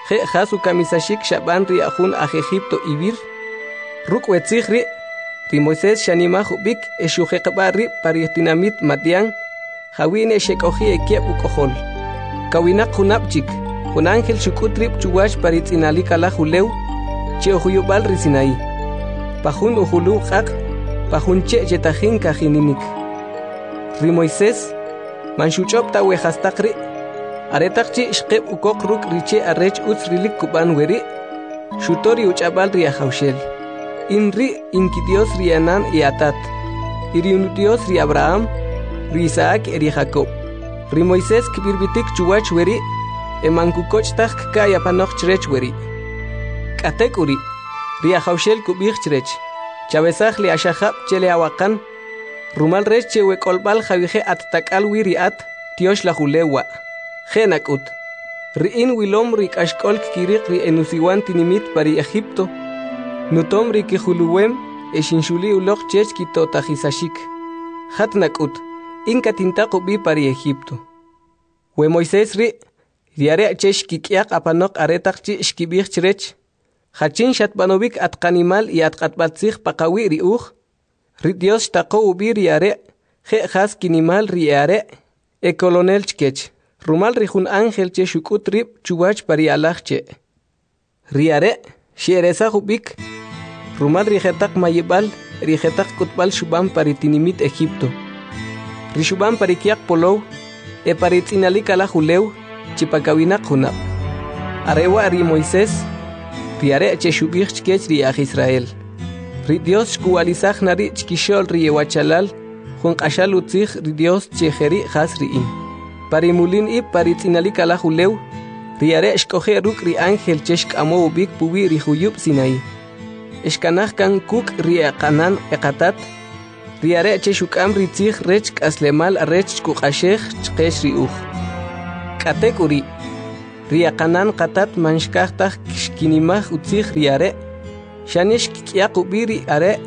je' jas ukamisaxik xab'an ri jun aj Egipto iwir? Ruk' we tzij ri', ri Moisés xanimaj ub'ik e xujeqb'a' rib' pa ri tinamit Madian, jawi' ne xek'oji' e kieb' uk'ojol. Kawinaq junab' chik, jun ángel xuk'ut rib' chuwach pa ri tz'inalik alaj ulew, che ujuyub'al ri Sinaí. Pa jun ujuluw q'aq', pa jun che' che tajin kajininik. Ri Moisés man xuch'ob' ta we jastaq ri', aretaq chi' xqeb' ukoq ruk' ri che' arech utz rilik kub'an weri', xuto ri uch'ab'al ri Ajawxel. In ri' in kiDios ri anan e atat, y ri Dios ri Abraham, ri Isaac e ri Jacob. Ri Moisés kb'irb'itik chuwach weri', e man kukoch' taj kka'y apanoq chrech weri'. K'atek'uri', ri Ajawxel kub'ij chrech: Chawesaj le axajab' che le awaqan, rumal rech che we k'olb'al jawije' at tak'al wi ri at, tyox laj ulew wa'. Je' nak'ut, ri in wilom ri k'axk'ol kkiriq ri enusiwan tinimit pa ri Egipto, nutom ri kijuluwem e xinxuli uloq chech kitotajisaxik. Jat nak'ut, in katintaq ub'i pa ri Egipto. We Moisés ri', ri are' che xkik'yaq apanoq aretaq chi' xkib'ij chrech: Jachin xatb'anowik at qanimal y at q'atb'altzij paqawi' ri uj? Ri Dios xtaqow ub'i ri are' je' jas kinimal ri e'are' e kolonel chkech, rumal ri jun ángel che xuk'ut rib' chuwach pa ri alaj che'. Ri are' xe'eresaj ub'ik rumal ri jetaq mayib'al, ri jetaq k'utb'al xub'an pa ri tinimit Egipto, ri xub'an pa ri kyaq polow e pa ri tz'inalik alaj ulew chi pa kawinaq junab'. Are wa' ri Moisés, ri are' che xub'ij chkech ri aj Israel: Ri Dios xkuwalisaj na ri' chkixo'l ri ewachalal jun q'axal utzij ri Dios che jeri' jas ri in. Pa ri mulin ib' pa ri tz'inalik alaj ulew, ri are' xk'oji' ruk' ri ángel che xk'amow ub'ik puwi' ri juyub' Sinaí. Xkanaj kan kuk' ri eqanan eqatat, Ri are' che xuk'am ri tzij rech k'aslemal arech kuq'axej chqech ri uj. K'atek'uri', ri aqanan qatat man xkaj taj xkinimaj utzij ri are', xane xkik'yaq ub'i ri are'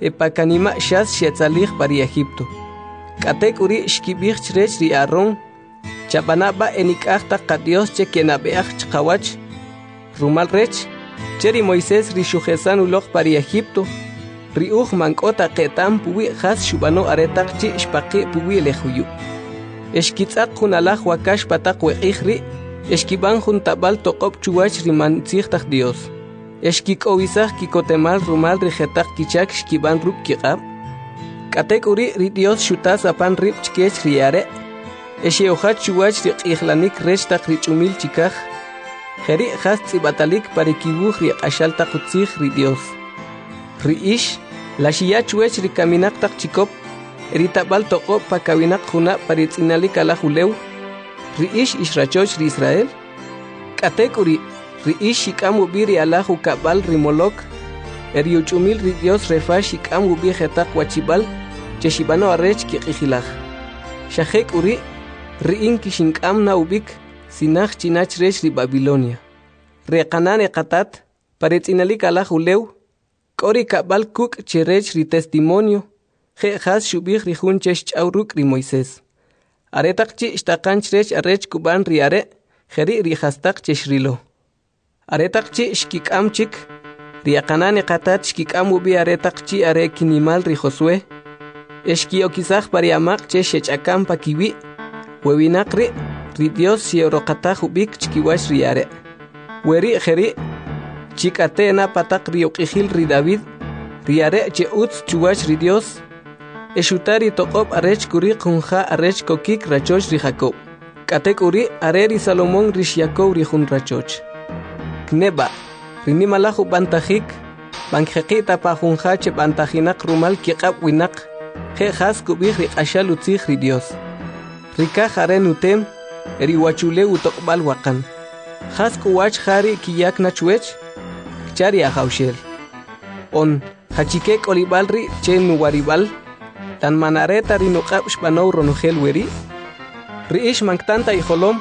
e pa kanima' xas xetzalij pa ri Egipto. K'atek'uri' xkib'ij chrech ri Aaron: Chab'ana' b'a' enik'aj taq qadyos che kenab'e'aj chqawach, rumal rech che ri Moisés ri xujesan uloq pa ri Egipto, ri uj man k'o ta qeta'm puwi' jas xub'ano aretaq chi' xpaqi' puwi' le juyub'. E xkitz'aq jun alaj wakax pa taq we q'ij ri', e xkib'an jun tab'al toq'ob' chuwach ri man tzij taj Dios. E xkik'owisaj kikotemal rumal ri jetaq kichak xkib'an ruk' kiq'ab'. K'atek'uri' ri Dios xutas apan rib' chkech ri are', e xe'ujach chuwach ri q'ijlanik rech taq ri ch'umil chikaj. Jeri' jas tz'ib'atalik pa ri kiwuj ri q'axal taq utzij ri Dios. Ri ix, la xiya chuwach ri kaminaq taq chikop, e ri tab'al toq'ob' pa kawinaq junab' pa ri tz'inalik alaj ulew, ri ix ix rachoch ri Israel? K'atek'uri', ri ix xik'am ub'i ri alaj ukab'al ri Molok, e ri uch'umil ri Dios Refa xik'am ub'i jetaq wachib'al che xib'ano arech kiq'ijilaj. Xa jek'uri', ri in kixink'am na ub'ik sinaj china chrech ri Babilonia. Ri qanan e qatat, pa ri tz'inalik alaj ulew, k'o ri kab'al kuk' che rech ri testimonio, je' jas xub'ij ri jun che xch'aw ruk' ri Moisés. Aretaq chi' xtaqan chrech arech kub'an ri are', jeri' ri jastaq che xrilo. Aretaq chi' xkik'am chik, ri aqanan e qatat xkik'am ub'i aretaq chi' are kinimal ri Josué, e xki'okisaj pa ri amaq' che xech'akam pa kiwi', we winaq ri', ri Dios xe'roqataj ub'ik chkiwach ri are'. Weri' jeri', chik'ate' na pataq ri uq'ijil ri David, ri are' che utz chuwach ri Dios, e xuta ri toq'ob' arech kuriq jun ja arech kokik rachoch ri Jacob. K'atek'uri' are ri Salomón ri xyakow ri jun rachoch. Kneb'a, ri nimalaj ub'antajik, man kjeqi' ta pa jun ja che b'antajinaq rumal kiq'ab' winaq, je' jas kub'ij ri q'axal utzij ri Dios. Ri kaj are nutem, e ri uwachulew utoq'b'al waqan. Jas k'uwach ja ri' kiyak na chwech? Kcha ri Ajawxel. On, jachike k'olib'al ri' che nuwarib'al, tan man are ta ri nuq'ab' xb'anow ronojel weri'? Ri ix man ktan ta ijolom,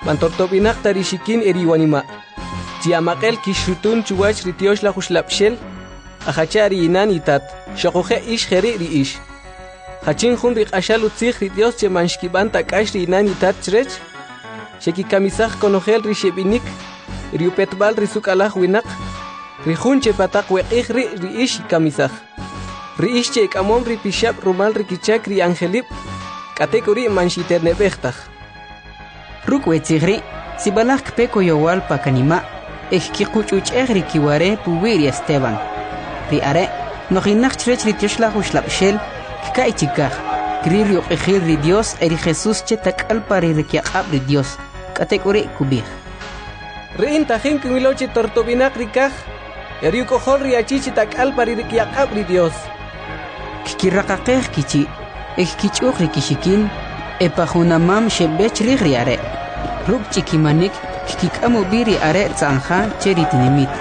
man tortob'inaq ta ri xikin e ri iwanima'. Chi amaq'el kixxutun chuwach ri tyoxlaj uxlab'xel, ajacha ri inan itat, xoquje' ix jeri' ri ix. Jachin jun ri q'axal utzij ri Dios che man xkib'an ta k'ax ri inan itat chrech? Xekikamisaj konojel ri xeb'inik, ri upetb'al ri suk'alaj winaq, ri jun che pataq we q'ij ri' ri ix xikamisaj. Ri ix che ik'amom ri pixab' rumal ri kichak ri angelib', k'atek'uri' man xiterneb'ej taj. Ruk' we tzij ri', sib'alaj kpe koyowal pa kanima' e kkiquch'uch'ej ri kiware puwi' ri Esteban. Ri are' nojinaq chrech ri tyoxlaj uxlab'xel, kka'y chikaj, kril ri uq'ijil ri Dios e ri Jesús che tak'al pa ri rikyaq'ab' ri Dios. K'atek'uri' kub'ij: Ri in tajin kinwilo che tortob'inaq ri kaj, e ri uk'ojol ri achi che tak'al pa ri rikyaq'ab' ri Dios. Kkiraqaqej kichi', e kkich'uq ri kixikin, e pa junamam xeb'e chrij ri are'. Ruk' ch'ikimanik kkik'am ub'i ri are' tza'nja che ri tinimit,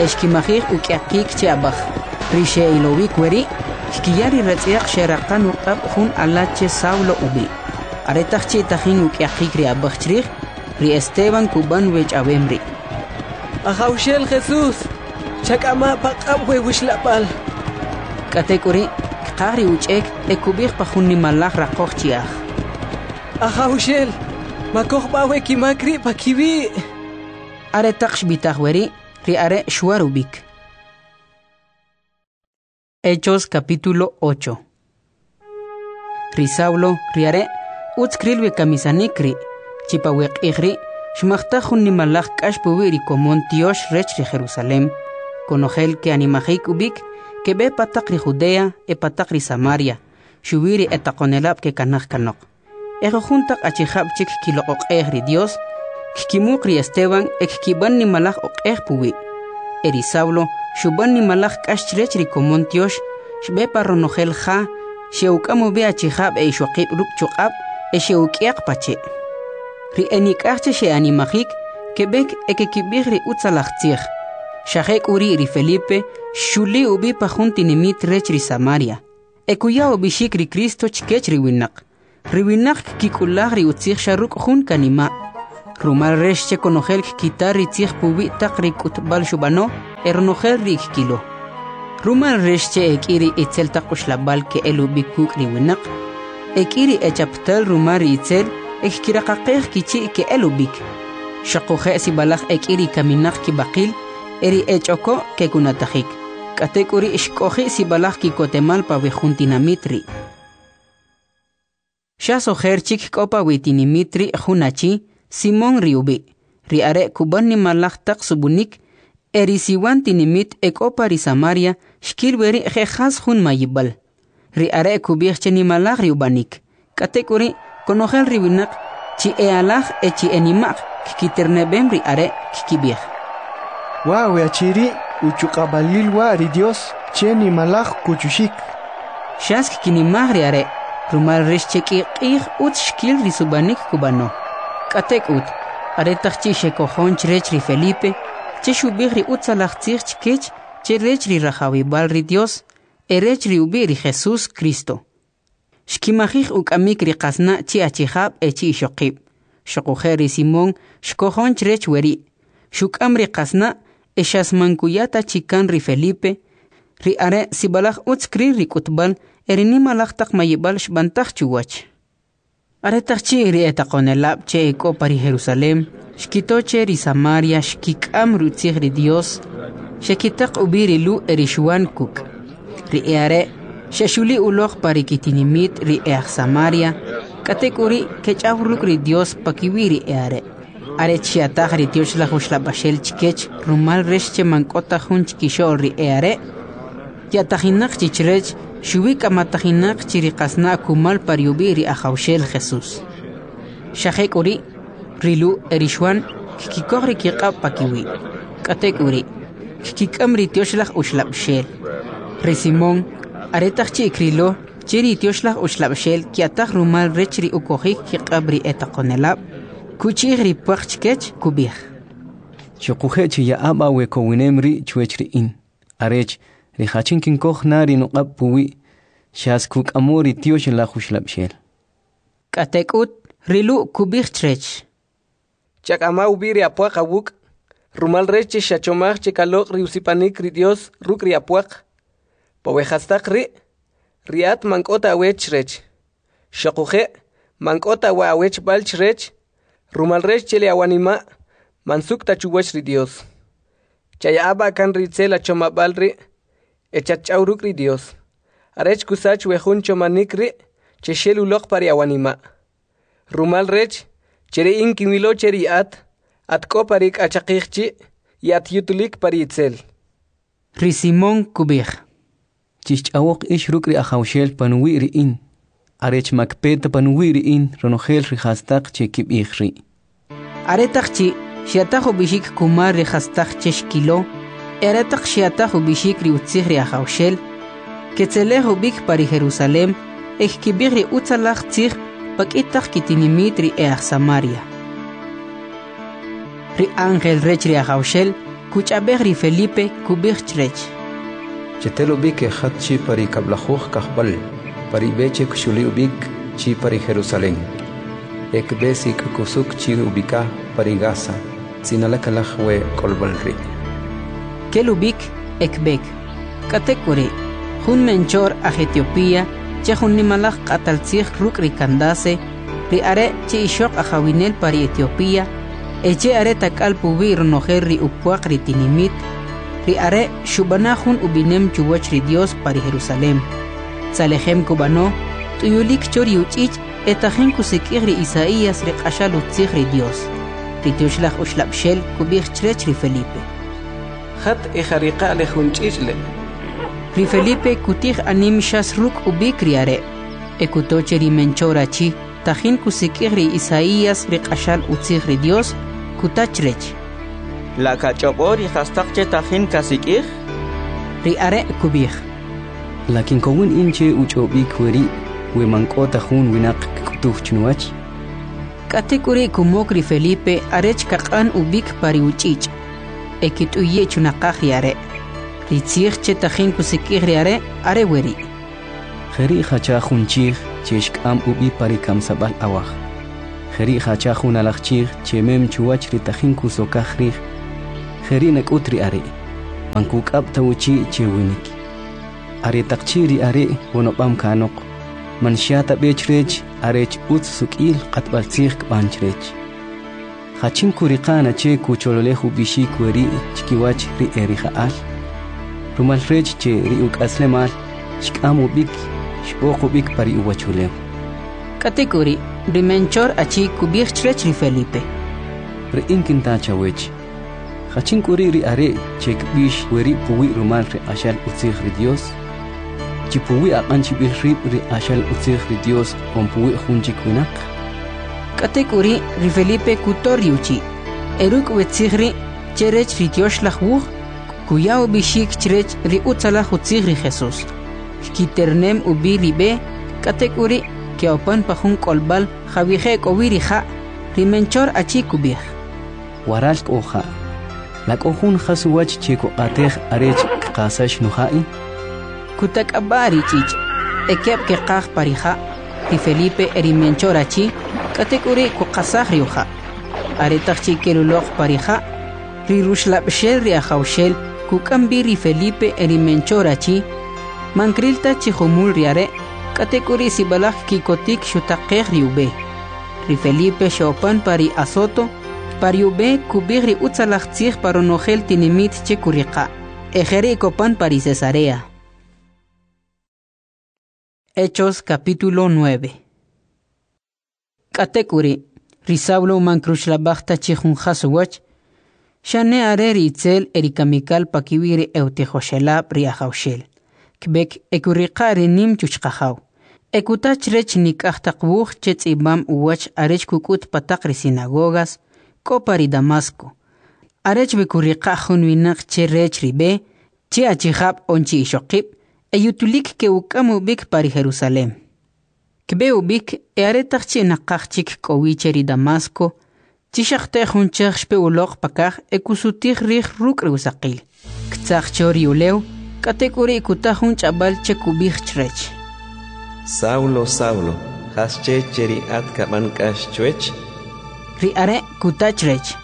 e xkimajij uk'yaqik che ab'aj. Ri xe'ilowik weri', kkiya ri ratz'yaq xeraqan uq'ab' jun ala che Saulo ub'i'. Aretaq chi' tajin uk'yaqik ri ab'aj chrij, ri Esteban kub'an we ch'awem ri': Ajawxel Jesús, chak'ama' paq'ab' we wuxlab'al. K'atek'uri', kqaj ri uch'ek e kub'ij pa jun nimalaj raqoj chi'aj: Ajawxel, makoj b'a we kimak ri' pa kiwi'. Aretaq xb'itaj weri', ri are' xwar ub'ik. Hechos capítulo ocho. Ri Saulo, ri are', utz kril we kamisanik ri', chi pa we q'ij ri', xmajtaj jun nimalaj k'ax puwi' ri komon tyox rech ri Jerusalem. Konojel ke'animajik ub'ik, keb'e pataq ri Judea e pataq ri Samaria, xuwi ri etaqonelab' kekanaj kanoq. E jujun taq achijab' chik kiloq'oq'ej ri Dios, kkimuq ri Esteban e kkib'an nimalaj oq'ej puwi'. E ri Saulo xub'an nimalaj k'ax chrech ri komon tyox, xb'e pa ronojel ja, xe'uk'am ub'i achijab' e ixoqib' ruk' chuq'ab' e xe'uk'yaq pa che'. Ri enik'aj che xe'animajik, keb'ek e kekib'ij ri utzalaj tzij. Xa jek'uri' ri Felipe xxuli ub'i pa jun tinimit rech ri Samaria, e kuya ub'ixik ri Cristo chkech ri winaq. Ri winaq kkik'ulaj ri utzij xa ruk' jun kanima'. Rumal rech che konojel kkita ri tzij puwi' taq ri k'utb'al xub'ano e ronojel ri kkilo. Rumal rech che e k'i ri itzel taq uxlab'al ke'el ub'i kuk' ri winaq, e k'i ri echaptal rumal ri itzel e kkiraqaqej kichi' ke'el ub'ik. Xuquje' sib'alaj e k'i ri kaminaq kib'aqil e ri ech'oko' kekunatajik. K'atek'uri' xk'oji' sib'alaj ki'kotemal pa we jun tinamit ri'. Xas ojer chik k'o pa we tinimit ri' jun achi, Simón ri ub'i'. Ri are' kub'an nimalaj taq sub'unik e ri siwan tinimit e k'o pa ri Samaria xkil weri' je' jas jun mayib'al. Ri are' kub'ij che nimalaj ri ub'anik. K'atek'uri' konojel ri winaq chi e alaj e chi e nima'q kkiterneb'em ri are' kkib'ij: Wa' we achi ri' uchuq'ab'alil wa' ri Dios che nimalaj kuchuxik. Xas kkinimaj ri are', rumal rech che k'i q'ij utz xkil ri sub'anik kub'ano. K'atek'ut, aretaq chi' xekojon chrech ri Felipe, che xub'ij ri utzalaj tzij chkech che rech ri rajawib'al ri Dios e rech ri ub'i' ri Jesús Cristo. Xkimajij uk'amik ri qasna' chi achijab' e chi ixoqib'. Xuquje' ri Simón xkojon chrech weri', xuk'am ri qasna' e xas man kuya ta chi kan ri Felipe. Ri are' sib'alaj utz kril ri k'utb'al e ri nimalaj taq mayib'al xb'antaj chuwach. Aretaq chi' ri etaqonelab' che e k'o pa ri Jerusalem xkito che ri Samaria xkik'am rutzij ri Dios, xekitaq ub'i ri Lu' e ri Xwan kuk'. Ri e'are' xexuli uloq pa ri kitinimit ri e'aj Samaria, k'atek'uri' kech'aw ruk' ri Dios pakiwi' ri e'are'. Are xya'taj ri Tyoxlaj Uxlab'axel chkech rumal rech che man k'o ta jun chkixo'l ri e'are' ya'tajinaq chi chrech, xuwi k'amatajinaq chi ri qasna' kumal pa ri ub'i' ri Ajawxel Jesús. Xa jek'uri', ri Lu' e ri Xwan kkikoj ri kiq'ab' pakiwi'. K'atek'uri', kkik'am ri Tyoxlaj Uxlab'xel. Ri Simón, aretaq chi' krilo che ri Tyoxlaj Uxlab'xel kya'taj rumal rech ri ukojik kiq'ab' ri etaqonelab', kuchi'j ri pwaq chkech, kub'ij: Xuquje' chiya'a b'a we kowinem ri' chwech ri in, arech ri jachin kinkoj na ri nuq'ab' puwi' xas kuk'amo ri Tyoxlaj Uxlab'xel. K'atek'ut, ri Lu' kub'ij chrech: Chak'ama ub'i ri apwaq awuk', rumal rech che xachomaj che kaloq' ri usipanik ri Dios ruk' ri apwaq. Pa we jastaq ri', ri at man k'o ta awech chrech. Xuquje' man k'o ta wa awechb'al chrech, rumal rech che le awanima' man suk' ta chuwach ri Dios. Chaya'a b'a kan ri itzel achomab'al ri' e chatch'aw ruk' ri Dios, arech kusach we jun chomanik ri' che xel uloq pa ri awanima'. Rumal rech che ri in kinwilo che ri at, at k'o pa ri k'achaqij chi' y at yutulik pa ri itzel. Ri Simón kub'ij: Chixch'awoq ix ruk' ri Ajawxel panuwi' ri in, arech ma kpe ta panuwi' ri in ronojel ri jastaq che kib'ij ri'. Aretaq chi' xya'taj ub'ixik kumal ri jastaq che xkilo, e aretaq xya'taj ub'ixik ri utzij ri Ajawxel, ketzelej ub'ik pa ri Jerusalem e kkib'ij ri utzalaj tzij pa k'i taq kitinimit ri e'aj Samaria. Ri ángel rech ri Ajawxel kuch'ab'ej ri Felipe, kub'ij chrech: Chetel ub'ik e jat chi pa ri kab'lajuj kajb'al, pa ri b'e che kxuli ub'ik chi pa ri Jerusalem, e kb'e sik'kusuk chi ub'ika pa ri Gaza, tz'inalakalaj we k'olb'al ri'. Kel ub'ik e kb'ek. K'atek'uri', jun menchor aj Etiopía che jun nimalaj q'atal tzij ruk' ri Candace, ri are' che ixoq ajawinel pa ri Etiopía, e che are tak'al puwi' ronojel ri upwaq ri tinimit, ri are' xub'ana jun ub'inem chuwach ri Dios pa ri Jerusalem. Tzalejem kub'ano, t'uyulik cho ri uch'ich' e tajin kusik'ij ri Isaías ri q'axal utzij ri Dios. Ri Tyoxlaj Uxlab'xel kub'ij chrech ri Felipe: Jat e jariqa' le jun ch'ich' le'. Ri Felipe kutij anim xas ruk' ub'ik ri are', e kuto che ri menchor achi tajin kusik'ij ri Isaías ri q'axal utzij ri Dios, kuta chrech: La kach'ob'o ri jastaq che tajin kasik'ij? Ri are' kub'ij: La kinkowin in che uch'ob'ik weri' we man k'o ta jun winaq kk'utuw chinuwach? K'atek'uri' kumok ri Felipe arech kaq'an ub'ik pa ri uch'ich' e kit'uyi' chunaqaj ri are'. Ri tzij che tajin kusik'ij ri are' are weri': Jeri' jacha jun chij che xk'am ub'i pa ri kamsab'al awaj. Jeri' jacha jun alaj chij che mem chuwach ri tajin kusokaj rij. Jeri' nak'ut ri are', man kuk'ab' ta uchi' che winik. Aretaq chi' ri are' wonob'am kanoq, man xya ta b'e chrech arech utz suk'il q'atb'altzij kb'an chrech. Jachin kuriqa' na che kuchololej ub'ixik weri' chkiwach ri erija'al? Rumal rech che ri uk'aslemal xk'am ub'ik, xb'oq ub'ik pa ri uwachulew. K'atek'uri', ri menchor achi kub'ij chrech ri Felipe: Ri in kinta chawech, jachin k'u ri' ri are' che kb'ix weri' puwi' rumal ri q'axal utzij ri Dios? Chi puwi' aq'an chib'il rib' ri q'axal utzij ri Dios on puwi' jun chik winaq? K'atek'uri', ri Felipe kutor ri uchi', e ruk' we tzij ri' che rech ri Tyoxlaj Wuj, kuya ub'ixik chrech ri utzalaj utzij ri Jesus. Kkiternem ub'i ri b'e, k'atek'uri' ke'opan pa jun k'olb'al jawije' k'o wi ri ja'. Ri menchor achi kub'ij: Waral k'o ja'. La k'o jun jas uwach che kuq'atej arech kqasax nuja' in? Kutak'ab'a' ri ch'ich', e keb' keqaj pa ri ja', ri Felipe e ri menchor achi, k'atek'uri' kuqasaj ri uja'. Aretaq chi' kel uloq pa ri ja', ri ruxlab'xel ri Ajawxel kuk'am b'i ri Felipe e ri menchor achi, man kril ta chi jumul ri are', k'atek'uri' sib'alaj kikotik xutaqej ri ub'e. Ri Felipe xe'opan pa ri Azoto, pa ri ub'e kub'ij ri utzalaj tzij pa ronojel tinimit che kuriqa', e jeri' kopan pa ri Cesarea. Hechos capítulo nueve. K'atek'uri', ri Saulo man kruxlab'aj ta chi jun jas uwach, xane are ri itzel e ri kamikal pakiwi' ri e'utijoxelab' ri Ajawxel. Kb'ek e kuriqa' ri nim chuchqajaw, e kuta chrech nik'aj taq wuj che tz'ib'am uwach arech kuk'ut pa taq ri sinagogas k'o pa ri Damasco, arech we kuriqa' jun winaq che rech ri b'e, che achijab' on chi ixoqib', e yutulik ke'uk'am ub'ik pa ri Jerusalem. Kb'e ub'ik e aretaq chi' naqaj chik k'o wi che ri Damasco, chi xaqte jun chej xpe uloq pakaj e kusutij rij ruk' ri usaqil. Ktzaj cho ri ulew, k'atek'uri' kuta jun ch'ab'al che kub'ij chrech: Saulo, Saulo, jasche che ri at kab'an k'ax chwech? Ri are' kuta chrech: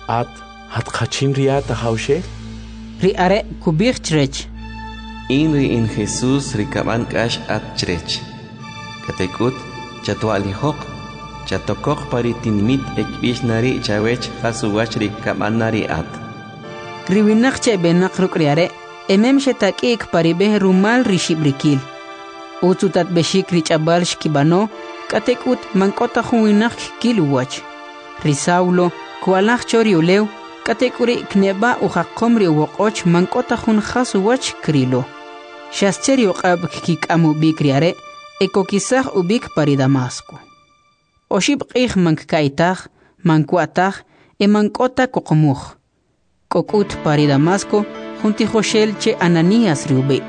At, at jachin ri at Ajawxel? Ri are' kub'ij chrech: In ri in Jesus ri kab'an k'ax at chrech. K'atek'ut, chatwa'lijoq, chatokoq pa ri tinimit e kb'ix na ri' chawech jas uwach ri kab'an na ri at. Ri winaq che eb'enaq ruk' ri are' emem xetak'i'k pa ri b'e rumal ri xib'rikil. Utz utatb'exik ri ch'ab'al xkib'ano, k'atek'ut man k'o ta jun winaq kkil uwach. Ri Saulo kwa'laj cho ri ulew, k'atek'uri' kneb'a ujaqom ri uwoq'och man k'o ta jun jas uwach krilo. Xas che ri uq'ab' kkik'am ub'ik ri are' e kokisaj ub'ik pa ri Damasco. Oxib' q'ij man kka'ytaj, man kwa'taj e man k'o ta kuqumuj. K'o k'ut pa ri Damasco jun tijoxel che Ananías ri ub'i'.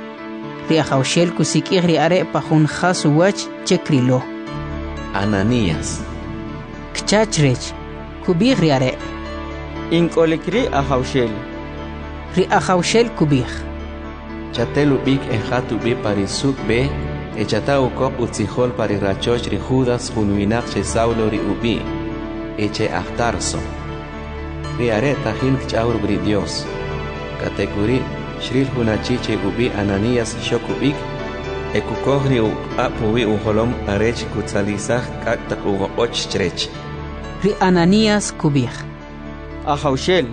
Ri Ajawxel kusik'ij ri are' pa jun jas uwach che krilo. Ananías. Kcha chrech, kub'ij ri are': In k'olik ri' Ajawxel. Ri Ajawxel kub'ij: Chatel ub'ik e jat ub'i pa ri suk' b'e e chata ukoq utzijol pa ri rachoch ri Judas jun winaq che Saulo ri ub'i' e che aj Tarso. Ri are' tajin kch'aw ruk' ri Dios. K'atek'uri' xril jun achi che ub'i' Ananías xok ub'ik e kukoj ri uq'ab' puwi' ujolom arech kutzalisaj k'ak' taq uwoq'och chrech. Ri Ananías kub'ij: Ajawxel,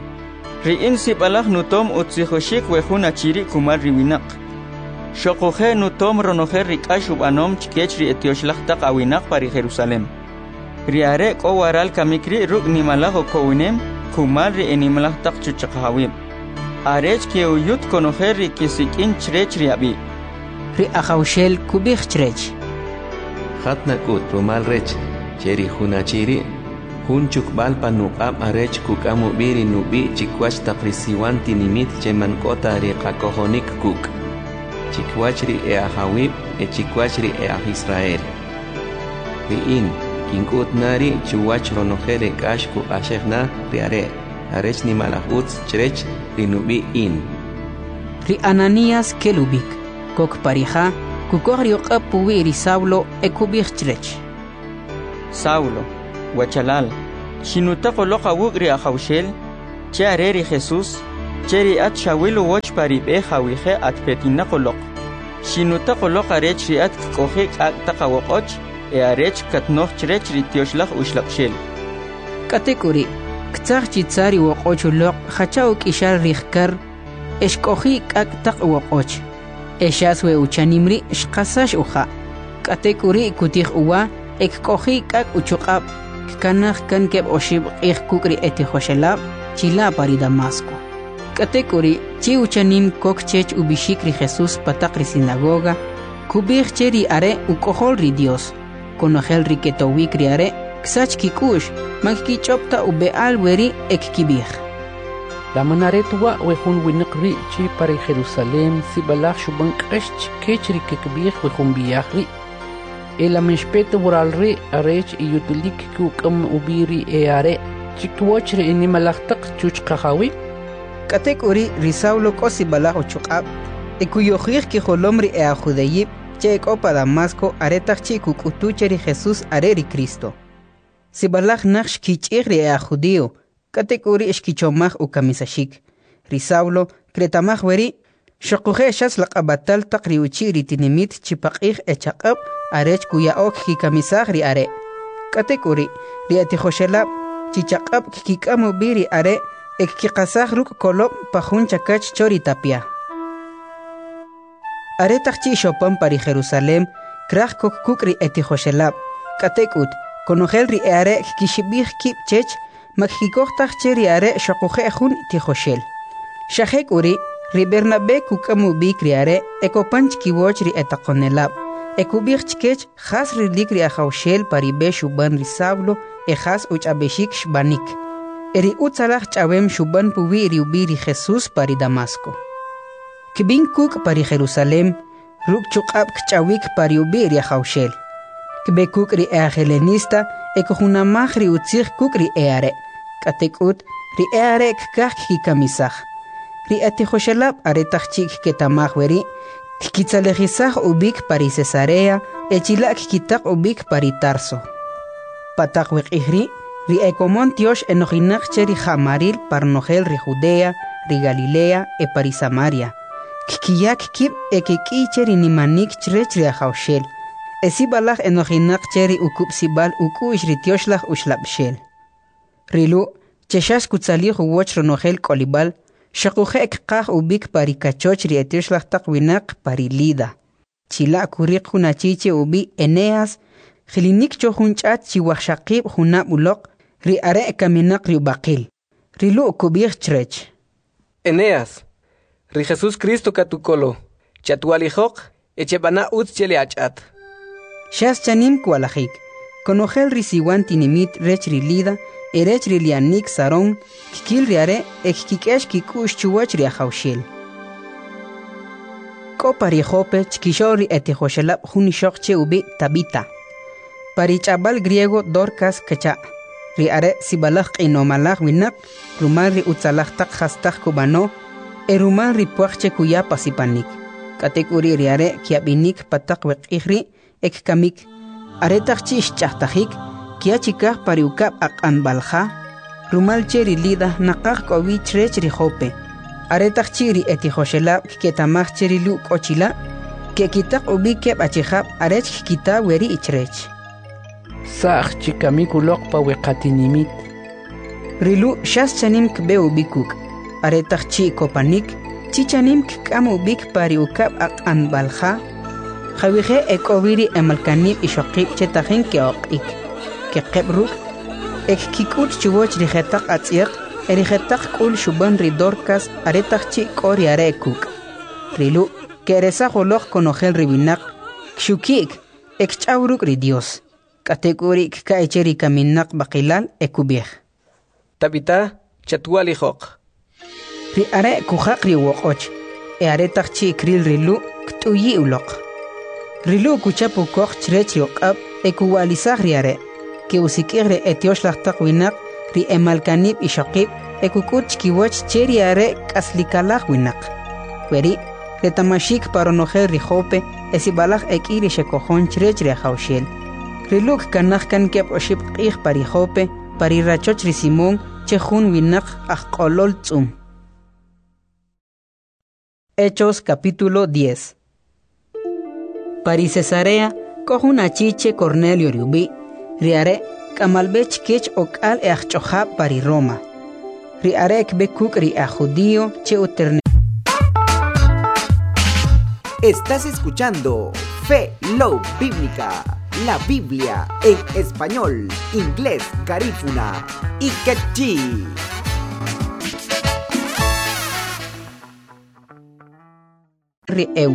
ri in sib'alaj nutom utzijoxik we jun achi ri' kumal ri winaq. Xoquje' nutom ronojel ri k'ax ub'anom chkech ri etyoxlaj taq awinaq pa ri Jerusalem. Ri are' k'o waral kamik ri' ruk' nimalaj ukowinem kumal ri enimalaj taq chuchqajawib', arech ke'uyut konojel ri kesik'in chrech ri ab'i'. Ri Ajawxel kub'ij chrech: Jat nak'ut rumal rech che ri jun achi ri' jun chukb'al pa nuq'ab' arech kuk'am ub'i ri nub'i' chikwach taq ri siwan tinimit che man k'o ta ri qakojonik kuk', chikwach ri e'ajawib' e chikwach ri e'aj Israel. Ri in kink'ut na ri' chuwach ronojel ri k'ax kuq'axej na ri are' arech nimalaj utz chrech ri nub'i' in. Ri Ananías kel ub'ik, kok pa ri ja, Kukoj ri uq'ab' puwi' ri Saulo e kub'ij chrech: Saulo, wachalal, xinutaq uloq awuk' ri Ajawxel, che are ri Jesús, che ri at xawil uwach pa ri b'e jawije' at petinaq uloq. Xinutaq uloq arech ri at kk'oji' k'ak' taq awoq'och e arech katnoj chrech ri Tyoxlaj Uxlab'xel. K'atek'uri', ktzaj chi tza ri woq'och uloq jacha uk'ixal rij kar e xk'oji' k'ak' taq uwoq'och. E xas we uchanim ri' xqasax uja'. K'atek'uri' kutij uwa e kk'oji' k'ak' uchuq'ab'. Kkanaj kan keb' oxib' q'ij kuk' ri etijoxelab' chila' pa ri Damasco. K'atek'uri' chi uchanim kok chech ub'ixik ri Jesús pa taq ri sinagoga, kub'ij che ri are' uk'ojol ri Dios. Konojel ri ketowik ri are' ksach kik'u'x, man kkich'ob' ta ub'e'al weri' e kkib'ij: La man are ta wa' we jun winaq ri' che pa ri Jerusalem sib'alaj xub'an k'ax chkech ri kkib'ij we jun b'i'aj ri'? E la man xpe ta waral ri' arech iyutulik kuk'am ub'i ri e'are' chkiwach ri enimalaj taq chuchqajawib'? K'atek'uri' ri Saulo k'o sib'alaj uchuq'ab' e kuyojij kijolom ri e'ajjudeyib' che ek'o pa Damasco aretaq chi' kuk'utu che ri Jesús are ri Cristo. Sib'alaj naj xkich'ij ri e'ajjudio, k'atek'uri' xkichomaj ukamisaxik. Ri Saulo kreta'maj weri', xoquje' xas laq'ab'atal taq ri uchi' ri tinimit chi paq'ij e chaq'ab' arech kuya'o kkikamisaj ri are'. K'atek'uri', ri etijoxelab' chi chaq'ab' kkik'am ub'i ri are' e kkiqasaj ruk' kolob' pa jun chakach cho ri tapya. Aretaq chi' xopan pa ri Jerusalem, kraj kok kuk' ri etijoxelab'. K'atek'ut, konojel ri e'are' kkixib'ij kib' chech, ma kkikoj taj che ri are' xoquje' jun tijoxel. Xa jek'uri', ri Bernabé kuk'am ub'ik ri are' e kopan chkiwach ri etaqonelab', e kub'ij chkech jas rilik ri Ajawxel pa ri b'e xub'an ri Saulo e jas uch'ab'exik xb'anik, e ri utzalaj ch'awem xub'an puwi' ri ub'i' ri Jesús pa ri Damasco. Kb'in kuk' pa ri Jerusalem, ruk' chuq'ab' kch'awik pa ri ub'i' ri Ajawxel. Kb'e kuk' ri e'ajelenista e kujunamaj ri utzij kuk' ri e'are'. K'atek'ut, ri e'are' kkaj kkikamisaj. Ri etijoxelab' aretaq chi' kketa'maj weri', kkitzalejisaj ub'ik pa ri Cesarea e chila' kkitaq ub'ik pa ri Tarso. Pa taq we q'ij ri', ri ekomon tyox enojinaq che ri ja'maril pa ronojel ri Judea, ri Galilea e pa ri Samaria. Kkiyak kib' e kek'iy che ri nimanik chrech ri Ajawxel, e sib'alaj enojinaq che ri ukub'sib'al uk'u'x ri Tyoxlaj Uxlab'xel. Ri Lu', che xas kutzalij uwach ronojel k'olib'al, xoquje' kqaj ub'ik pa ri kachoch ri etyoxlaj taq winaq pa ri Lida. Chila' kuriq jun achi che ub'i' Eneas, jilinik cho jun ch'at chi wajxaqib' junab' uloq, ri are' kaminaq ri ub'aqil. Ri Lu' kub'ij chrech: Eneas, ri Jesús Cristo katukolo, chatwalijoq e cheb'ana utz che le ach'at. Xas chanim kwalajik. Konojel ri siwan tinimit rech ri Lida e rech ri lianik Sarón kkil ri are' e kkik'ex kik'u'x chuwach ri Ajawxel. K'o pa ri Jope chkixo'l ri etijoxelab' jun ixoq che ub'i' Tabita. Pa ri ch'ab'al griego Dorcas kacha'. Ri are' sib'alaj q'inomalaj winaq rumal ri utzalaj taq jastaq kub'ano e rumal ri puaq che kuya pa sipanik. K'atek'uri' ri are' kyab'inik pa taq we q'ij ri' e kkamik. Aretaq chi' xch'ajtajik, kya chikaj pa ri ukab' aq'anb'al ja, rumal che ri Lida naqaj k'o wi chrech ri Jope. Aretaq chi' ri etijoxelab' kketa'maj che ri Lu' k'o chila', ke'kitaq ub'i keb' achijab' arech kkita weri' chrech: Sa'j chi kamik uloq pa we qatinimit. Ri Lu' xas chanim kb'e ub'i kuk'. Aretaq chi' kopanik, chi chanim kk'am ub'ik pa ri ukab' aq'anb'al ja, jawije' e k'o wi ri emalkanib' ixoqib' che tajin ke'oq'ik. Keqeb' ruk' e kkik'ut chuwach ri jetaq atz'yaq e ri jetaq k'ul xub'an ri Dorcas aretaq chi' k'o ri are' kuk'. Ri Lu' ke'resaj uloq konojel ri winaq, kxuki'k e kch'aw ruk' ri Dios. K'atek'uri' kka'y che ri kaminaq b'aqilal e kub'ij: Tabita, chatwalijoq. Ri are' kujaq ri uwoq'och, e aretaq chi' kril ri Lu' kt'uyi' uloq. Ri Lu' kuchap ukoq chrech ri uq'ab' e kuwa'lisaj ri are'. Ke'usik'ij ri etyoxlaj taq winaq, ri emalkanib' ixoqib' e kuk'ut chkiwach che ri are' k'aslikalaj winaq. Weri', reta'maxik pa ronojel ri Jope e sib'alaj e k'i ri xekojon chrech ri Ajawxel. Ri Lu' kkanaj kan keb' oxib' q'ij pa ri Jope, pa ri rachoch ri Simón, che jun winaq ajq'olol tz'um. Hechos capítulo diez. Pa ri Cesarea k'o jun achi che Cornelio ri ub'i', ri are' k'amal b'e chkech ok'al e ajch'o'jab' pa ri Roma. Ri are' kb'e kuk' ri aj judío che uterne Estás escuchando Fe Love Bíblica, la Biblia en español, inglés, garífuna y quechí. Ri e